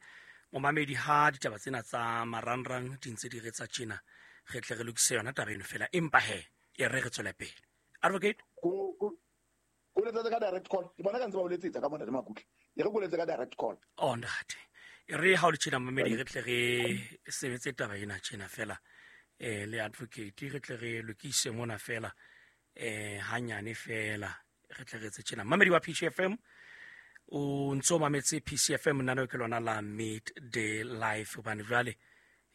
momamedi ha ditaba tsena tsa marangrang di ntse di re tsa tjena re tle re lokise yona taba eno fela empa he e re re tswele pele. Advocate ko ko letsetsa ka direct call ke bona ka ntse ba o letsetsa ka mona le Makutle e re ko letsetsa ka direct call. Oh ntate e re ha o le tjena momamedi re tle re sebetse taba ena tjena fela eh le advocate re tle re lokise mona fela eh hanyane fela re tle re tse tjena. Mamedi wa P C F M o ntso mametse P C F M nna ke lona la Midday Life hobane jwale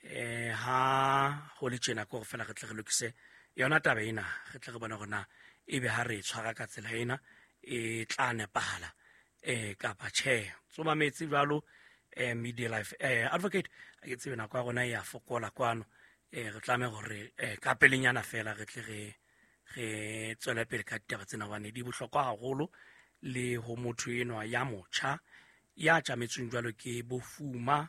eh ha ho le tjena ko fela re tle re lokise yona taba ena re tle re bone hore na ebe ha re tshwara ka tsela ena e tla nepahala eh kapa tjhe. Tso mametse jwalo eh Midday Life. Eh advocate a ke tsebe nako ya rona e ya fokola kwano eh re tlameha hore eh ka pelenyana fela re tle re re tswele pele ka ditaba tsena hobane di bohlokwa haholo le ho motho enwa ya motjha ya tjametsweng jwalo ke bofuma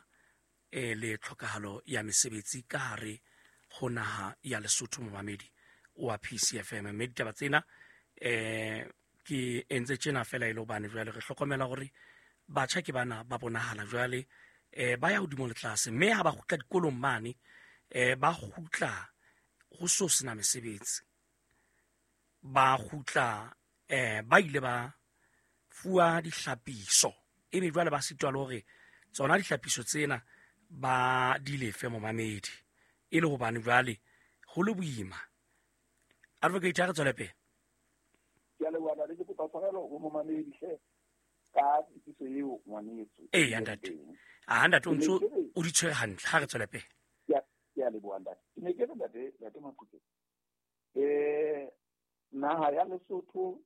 eh le tlhokahalo ya mesebetsi ka hare ho naha ya Lesotho. Momamedi wa P C F M mme ditaba tsena eh ke entse tjena fela e le hobane jwale re hlokomela hore batjha ke bana ba bonahala jwale eh ba ya hodimo le tlase mme ha ba kgutla dikolong mane eh ba kgutla ho so sena mesebetsi ba kgutla eh ba ile ba fuwa dihlapiso ebe jwale ba sitwa le hore tsona dihlapiso tsena ba di lefe momamedi e le hobane jwale ho le boima. Advocate a re tswele pele. Ke a leboha ntate, ke kopa tshwarelo ho momamedi hle ka tsebiso eo ngwaneso. Ee ntate, a ntate o ntso o di tshwere hantle, ha re tswele pele. Ke a leboha ntate. Ke ne ke re ntate, ntate Makutle, eh naha ya Lesotho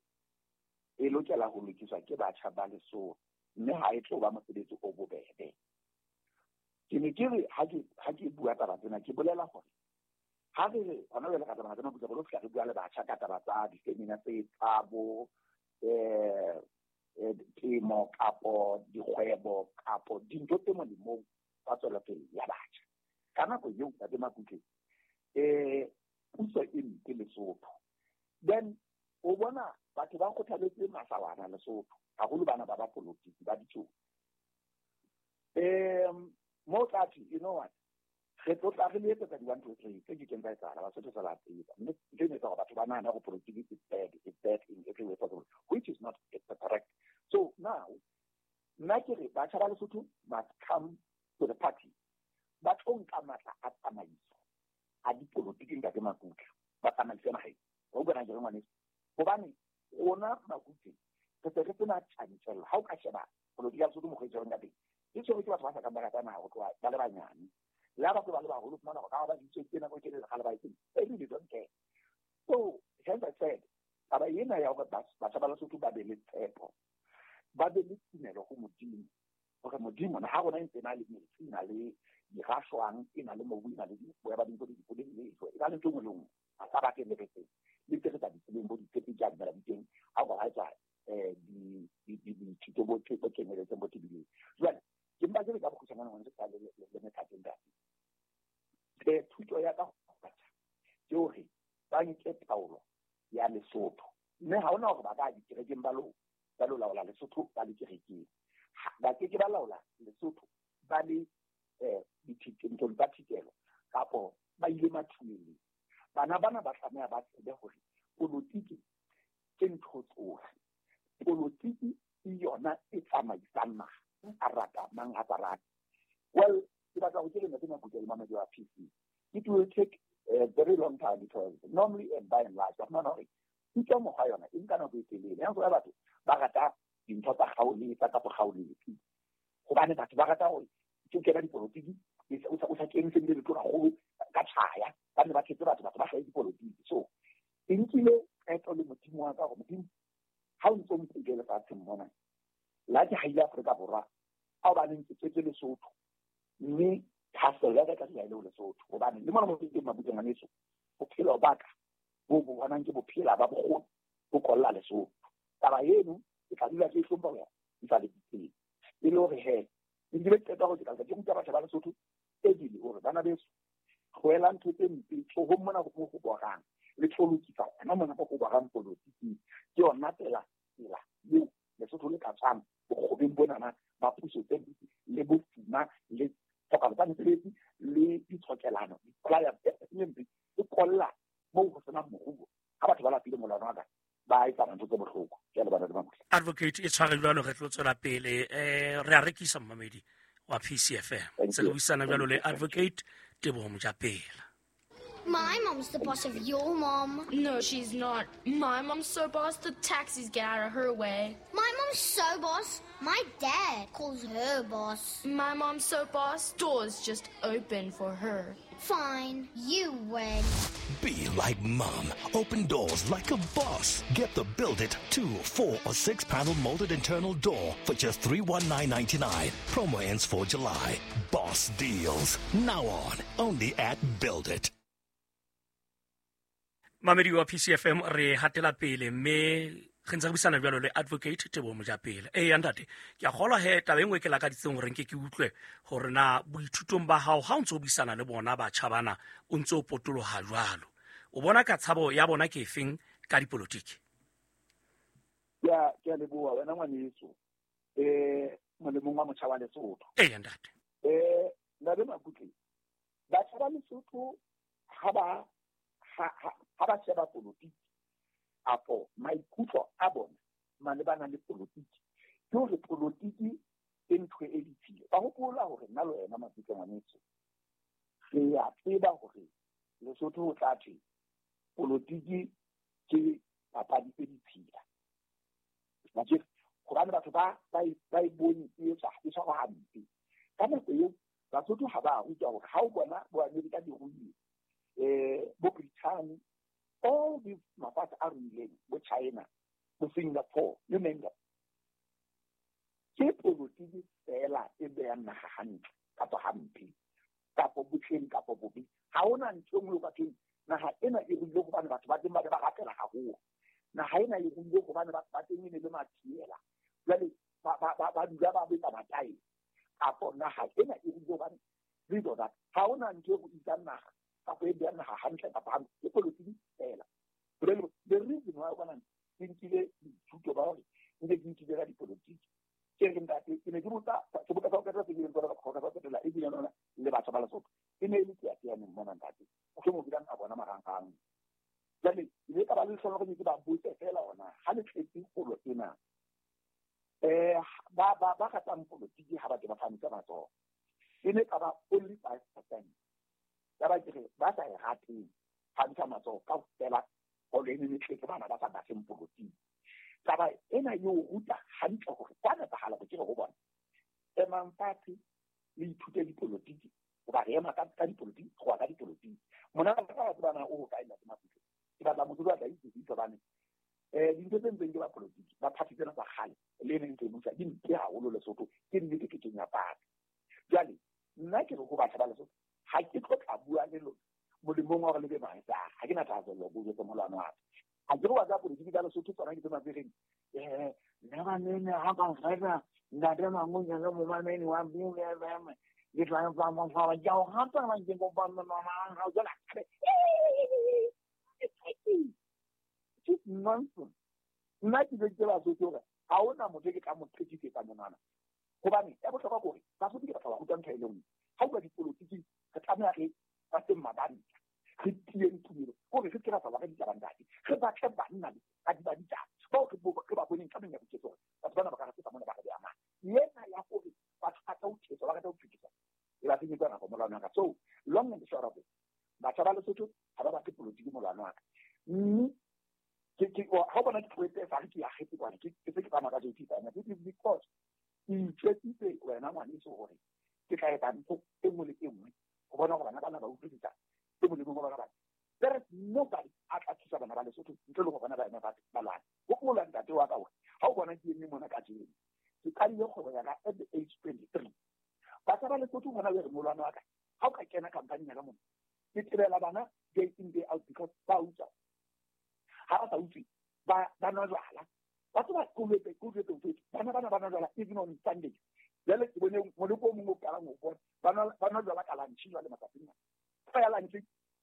e lokela ho lokiswa ke batjha ba Lesotho mme ha e tlo ba mosebetsi o bobebe. Ke ne ke re ha ke ha ke bua taba tsena ke bolela hore ha re re hona jwale ka taba tsena re lo fihla re bua le batjha ka taba tsa di-seminar tse tsa bo eh temo kapo dikgwebo kapo dintho tse molemong tsa tswelopele ya batjha. Ka nako eo ntate Makutle eh puso e mpe Lesotho. Then o bona batho ba kgothaletse masawana Lesotho haholo bana ba ba politiki ba ditsotsi. Um mo tla thwe, you know what, re tlo tla re le etsetsa di one two three tse ke keng tsa etsahala, Basotho sa ba tseba mme ntho eno e etsa hore batho ba nahane hore politiki is bad, is bad in every way possible, which is not correct. So now nna ke re batjha ba Lesotho must come to the party, ba tlo nka matla a tsamaiso a dipolotiki ntate Makutle, ba tsamaise naheng. Wa utlwa na ke re ngwaneso? Hobane rona Makutle re se re sena tjantjello. Ha o ka sheba polotiki ya Lesotho mokgwa e tshwerweng ka teng, e tshwerwe ke batho ba sa kang ba rata naha ho tloha ba le banyane. Le ha batho ba le baholo, fumana hore ka ba ditswe ke nako e telele kgale ba e tsebe, they really don't care. So hence I said, taba ena ya hore batjha ba Lesotho ba be le tshepo, ba be le tumelo ho Modimo, hore Modimo naha rona e ntse e na le metsi, e na le dirashwang, e na le mobu, e na le boya ba dintho, dipoleng le ejwe, e na le ntho e nngwe le nngwe. Ha sa batle le re tsebe, le tse re sa di tsebeng bo ditshepe di a dumela di teng, ha o ka wa etsa eh di di dithuto bo bo kenyeletseng bo tebileng. Jwale ke mpa ke re ka bokgutshwanyane ngwaneso ka le le methateng ntate. Eh thuto ya ka batjha ke hore ba nke taolo ya Lesotho mme ha hona hore ba ka dikerekeng ba lo ba lo laola Lesotho ba le kerekeng. Ba ke ke ba laola Lesotho ba le eh dithitong tsa thitelo kapo ba ile mathuleng. Bana bana ba tlameha ba tsebe hore politiki ke ntho tsohle. Politiki ke yona e tsamaisang naha, a rata mang a sa rate. Well, ke batla ho ke ntate Makutle le mamedi wa P C. It will take a very long time because normally and by and large, ba fumana hore thuto mokgwa yona e nka nako e telele. Ya nka batho ba rata dintho tsa kgaoletsa kapa kgaoletsi. Hobane batho ba rata hore ke kena dipolotiki o sa o sa kene se le tloga go ka tshaya ba ne ba thetse batho batho ba hlae dipolotiki. So e nkile qeto le Modimo wa ka hore Modimo ha o ntso mpule lefatsheng mona la ke haile Afrika Borwa a o baneng ke tswetse Lesotho mme Bophelo ba ka bo bo bonang ke bophela ba bokgoni bo kolla Lesotho. Taba eno ke tla dula ke hlompha ho ya ntsa le ditsela. E le hore he ke dile qeta hore ke tla ke ruta batjha ba Lesotho ebile hore bana beso tlohela ntho tse mpe tlohong mona go go borang le tlo lokisa hona mona go go borang politiki ke yona tsela tsela eo Lesotho le ka tswang bokgobeng bonana ba puso tse le bofuma le tlhokalo tsa mesebetsi le ditshokelano dipolaya tse mpe e kolla moo go senang moruo ha batho ba lapile molano wa ka ba etsa ntho tse bohloko. Ke a leboha Ntate Makutle. Advocate e tshware jwalo re tlo tswela pele eh re a rekisa mmamedi wa P C F M. Se re buisana jwalo le Advocate Teboho Mojapela. My mom's the boss of your mom. No, she's not. My mom's so boss, the taxis get out of her way. My mom's so boss, my dad calls her boss. My mom's so boss, doors just open for her. Fine, you win. Be like mom. Open doors like a boss. Get the Build It two, four, or six panel molded internal door for just three one nine ninety-nine. Promo ends for July. Boss deals. Now on. Only at Build It. Mamedi wa P C F M re hatela pele mme re ntse re buisana jwalo le Advocate Teboho Mojapela. Eh ntate, ke a kgolwa he taba e nngwe ke lakaditseng hore nke ke utlwe hore na boithutong ba hao ha o ntso buisana le bona batjha bana o ntso potoloha jwalo. O bona ka tshabo ya bona ke efeng ka dipolotiki? Ya ke a leboha wena ngwaneso. Eh molemong wa motjha wa Lesotho. Eh ntate. Eh Ntate Makutle, batjha ba Lesotho ha ba ha ha ba sheba politiki apo maikutlo a bona malebana le politiki ke hore politiki ke ntho e ditshila. Ba hopola hore nna le wena Makutle ngwaneso re a tseba hore Lesotho ho tla thwe politiki ke papadi e ditshila. Hobane batho ba ba e bone e etswa e tshwarwa hampe. Ka nako eo Basotho ha ba rutwa hore ha o bona bo Amerika di ruile eh bo Britain, all these mafatshe a ruileng, bo China, bo Singapore, you name them. Ke politiki fela e beyang naha hantle kapa hampe kapa botleng kapa bobe. Ha hona ntho e nngwe o ka thweng naha ena e ruile hobane batho ba teng ba ne ba rapela haholo. Naha ena e ruile hobane batho ba teng e ne le mathiela. Jwale ba ba ba dula ba betsa matae. Kapo naha ena e ruile hobane this or that. Ha hona ntho e ruisang naha kapa e beyang naha hantle kapa hampe. Ke politiki fela. The reason why o bona ke nkile dithuto ba hore nke ke nkile ka dipolotiki ke re ntate ke ne ke botsa seboka sa ho qetela se kileng tsona ka sa ho qetela ebile lona le batjha ba Lesotho e ne e le teateaneng mona ntate mohlomong o kileng a bona marangrang. Jwale ke ile ka ba le lehlohonolo hore ke ba botse fela hona ha le tletse kgolo ena eh ba ba ba ratang politiki ha ba ke ba phahamisa matsoho e ne ka ba only five percent ya ba ke re ba sa e rateng phahamisa matsoho kaofela holo e ne e tletse bana ba sa batleng politiki. Taba ena e o ruta hantle hore kwa nepahala hore ke re ho bona emang fatshe le ithute dipolotiki hoba re ema ka ka dipolotiki go ya ka dipolotiki. Mona ka ba tsebana o ho kae Ntate Makutle ke batla motho a tla itse hobane eh dintho tse ntseng ke ba politiki ba party tsena tsa kgale le neng tse busa di mpe haholo Lesotho ke nnete ke kenya party. Jwale nna ke re ho batjha ba Lesotho ha ke tlo tla bua le lona molemong wa hore le be mahetsa ha ke na thahasello bo jwetse molwana wa ka. Ha ke re wa tsa politiki tsa Lesotho tsona ke tse mabereng eh nna ba nene ha ka nfela ntate Mangunyana momamedi wa B F M ke tla ba mo fa ba ja o rata ba ke go ba mama ha o jala it's nonsense. Nna ke jwetse Basotho hore ha hona motho ke tla mo qetisetsa monwana hobane ya bohlokwa ke hore Basotho ke batho ba rutwa ntho e le nngwe. Ha o bua dipolotiki re tlameha re ba teng mabanta re tieng tumelo hore re se ra tsamaya ka ditaba ntate re batle banna ba di ba ditaba bao re ba boneng ka menyabuketso hore batho bana ba ka re feta mona ba re beha mane ena ya hore batho ba tla o thetswa ba rata ho phekisa e ba senyetsa nako molwana wa ka. So long and short of it batjha ba Lesotho ha ba batle politiki molwana wa ka mme ke ke ha o bona ke tlohetse fa re ke akgetse kwana ke se ke tsamaya ka J P Finance. It is because ke itjwetsitse wena ngwaneso hore ke tla etsa ntho e nngwe le e nngwe ho bona hore bana bana ba utlwisisa e molemong wa bana bana. There is nobody a tla thusa bana ba Lesotho ntle le ho bona ba eme ba lwana. Hopola ntate wa ka hore ha o bona ke eme mona kajeno ke qadile kgwebo ya ka at the age twenty-three. Batjha ba Lesotho hona jwale molwana wa ka ha o ka kena company ya ka mona ke tebela bana day in day out Ha ba sa utswe ba ba nwa jwala. Batho ba kolwetse kolwetse mfethu. Bana bana ba nwa jwala even on Sunday. Jwale ke bone moloko o mongwe o qalang ho bona ba nwa ba nwa jwala ka lunch jwale matsatsing ana. Fa ya lunch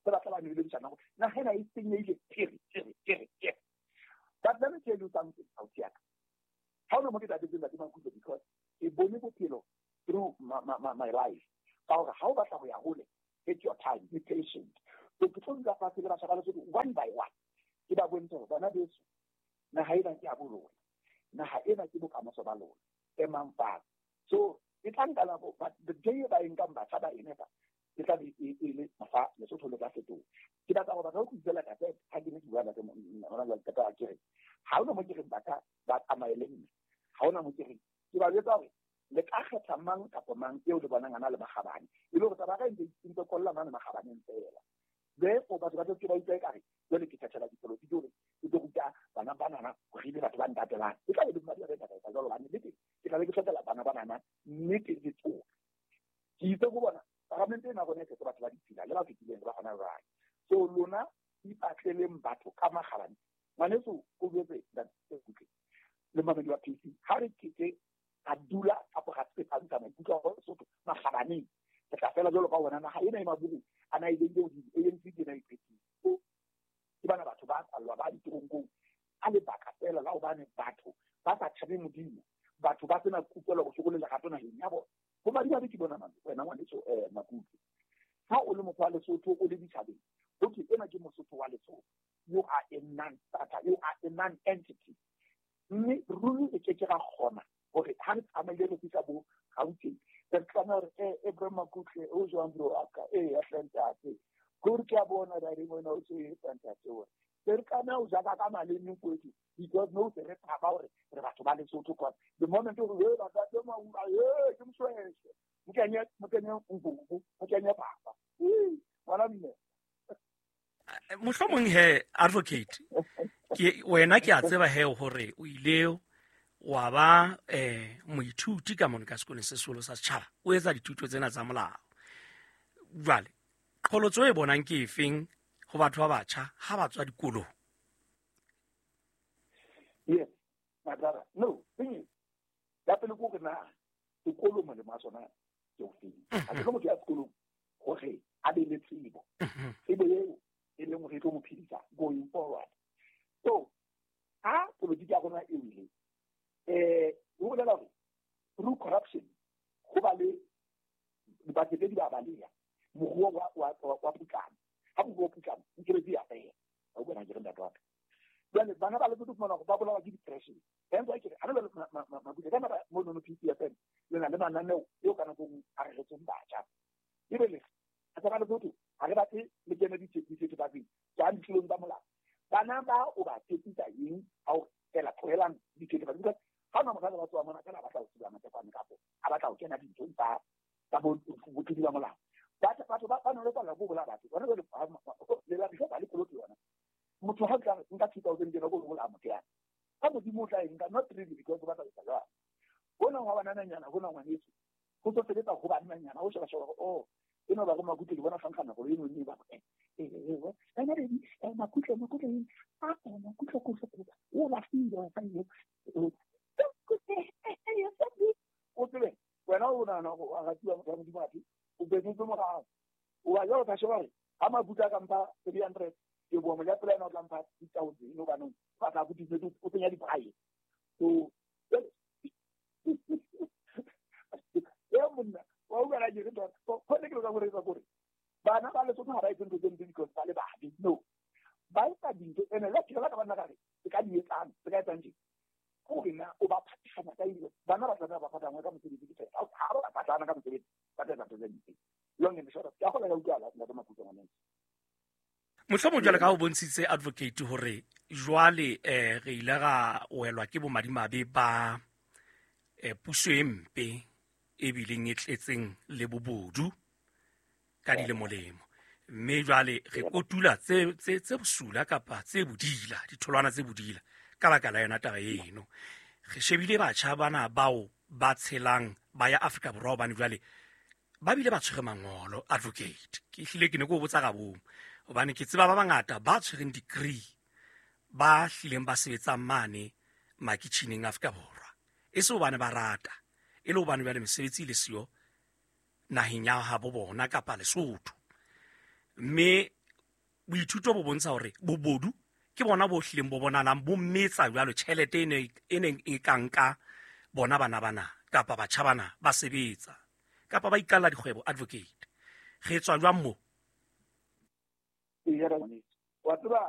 ba batla ba nwele bojana gore naga ena e senyehile tere tere tere tere. But let me tell you something, ausi ya ka. Ha hona mo ke tabetseng Ntate Makutle because ke bone bophelo through my, my, my, my life. Ka hore ha o batla ho ya hole, take your time, be patient. So ke tlo dula fatshe le batjha ba Lesotho one by one. Ke ba bontshe hore bana beso, naha ena ke ya bo lona. Naha ena ke bokamoso ba lona. Emang fatshe. So e tla nka nako, but the day ba e nkang batjha ba e nepa, e tla be e e le mafa Lesotho le tla fetoha. Ke batla go batla go utlwela ka tse ha ke ne ke bua le hona jwale ka taba ke re ha hona mo ke reng ba ka ba tsamaye le nna. Ha hona mo ke reng ke ba jwetsa hore le ka kgetha mang kapa mang eo le bonang a na le makgabane, e le hore taba ya ka e ntse e ntse kolla mane makgabaneng feela. Therefore batho ba tlo ke ba utlwa ekare jwale ke thathela dipolotiki hore ke tlo ruta bana banana hore ebe batho ba ntatelang. E tla be le madi a re ka etsa jwalo hobane nnete ke tla be ke hlokela bana banana nnete le tsohle. Ke itse ho bona paramente ena rona e tletse batho ba ditshila le ba fetileng le ba hona jwale. So lona ipatleleng batho ka makgabane. Ngwaneso o jwetse Ntate Kutle le mamedi wa P C, ha re keke ra dula kapa ra tsepamisa maikutlo a rona Lesotho makgabaneng, re tla fela jwalo ka bona naha ena e maburu a na e beile hodimo, A N C ke ena e qetile. Ke bana batho ba tswallwa ba ditoronkong ka lebaka feela la hobane batho ba sa tshabe Modimo, batho ba sena kutlwelo bohloko le lerato naheng ya bona. Ho madimabe ke bona wena ngwaneso eh Makutle. Ha o le motho wa Lesotho o le ditjhabeng, ho thwe ena ke Mosotho wa Lesotho. You are a non-starter, you are a non-entity. Mme ruri re ke ke ra kgona hore ha re tsamaile re fihla bo Gauteng, re tlameha hore eh Abraham Makutle o jwang bro wa ka, eh ya hle ntate. Ke ke a bona re wena o tse etsa ntate hore re tlameha ho jaka ka maleme kwethu because no se re tshaba hore re batho ba Lesotho kwa. The moment o re ba ka tsema o eh ke mshweshwe. Mkenye mkenye ngubu, mkenye papa. Ngwana mme. Mohlomong he advocate ke wena ke a tseba he hore o ile wa ba eh moithuti ka mona ka sekolong se seholo sa setjhaba o etsa dithuto tsena tsa molao. Jwale qholotso e bonang ke efeng ho batho ba batjha ha ba tswa dikolong? Yes, my brother. No, thing is, ya pele ko re na sekolo molemo wa sona ke ofeng? Ha ke motho ya sekolong hore a be le tsebo. Tsebo eo e leng hore e tlo mo phedisa going forward. So ha polotiki ya rona e wile, eh ho bolela hore through corruption ho ba le dipakete di ba baleha, moruo wa wa wa putlama. Ha moruo o putlama, mesebetsi ya fela. Ha o bona ke re ntate wa ka. Jwale bana ba Lesotho fumana hore ba bolawa ke depression. Hence why ke re ha re le Makutle ka nako mono no P C F M le na le mananeo eo ka nako a re retseng batjha. Ebe le batjha ba Lesotho ha re batle le kene dithethefatsing tswang ditlolong tsa molao. Bana ba o ba tshepisa eng ha o fela tlohelang dithethefatsi? Because ha ona mosadi ba tsoa mona fela a batla ho tseba matekwane kapo a batla ho kena dinthong tsa tsa botlodi ba molao. Batho batho ba ba nolofalla ko bolaya batho. Bona jwale le la ba le koloti yona. Motho ha o tla nka two thousand kena ko bolaya motho yana. Ka Modimo o tla e nka, not really because o batla ho etsa jwalo. Hona hwa banananyana, hona ngwaneso. Ho tlo sebetsa ho bananyana, ho sheba sheba hore oh eno ba go Makutle ke bona fankgana gore eno ne ba eh eh eh ena re eh Makutle Makutle eng a eh Makutle ko se o la file fa yo o tsebe wena o nahana hore wa ratiwa motho wa Modimo athe o betsetse morao. O ba jwalo ka sheba hore ha Makutle a ka mpha three hundred ke bua mo ya pela ena o tla mpha six thousand eno banong ba tla go ditse o tsenya dibrae. So e monna wa utlwa ke re tota go ne ke lo ka gore etsa gore bana ba Lesotho ha ba etse ntho tse mpe because ba le babe. No, ba etsa dintho ene le ke la ka bana ka re ke ka di etsang se ka etsang tje hore na o ba phathana ka eng. Bana ba tlameha ba phathangwe ka mosebetsi ke fela. Ha ba phathana ka mosebetsi ba tla etsa ntho tse mpe. Long and short, ke a kgona ka utlwa Ntate Makutle ngwaneso. Mohlomong jwale ka ho bontshitse advocate hore jwale eh re ile ra welwa ke bomadimabe ba eh puso e mpe e bileng e tletseng le bobodu ka dilemolemo, mme jwale re kotula tse tse tse bosula kapa tse bodila, ditholwana tse bodila ka baka la yona taba eno. Re shebile batjha bana bao ba tshelang ba ya Afrika Borwa hobane jwale ba bile ba tshwere mangolo advocate. Ke hlile ke ne ke o botsa ka bomo hobane ke tseba ba bangata ba tshwereng degree Ba hlileng ba sebetsang mane makitjhineng Afrika Borwa e se hobane ba rata, e le hobane jwale mesebetsi e le siyo naheng ya habo bona kapa Lesotho. Mme boithuto bo bontsha hore bobodu ke bona bo hlileng bo bonahalang bo metsa jwalo tjhelete e ne e neng e ka nka bona bana bana kapa batjha bana ba sebetsa kapa ba iqalla dikgwebo. Advocate, re tswa jwang mo? Wa tseba.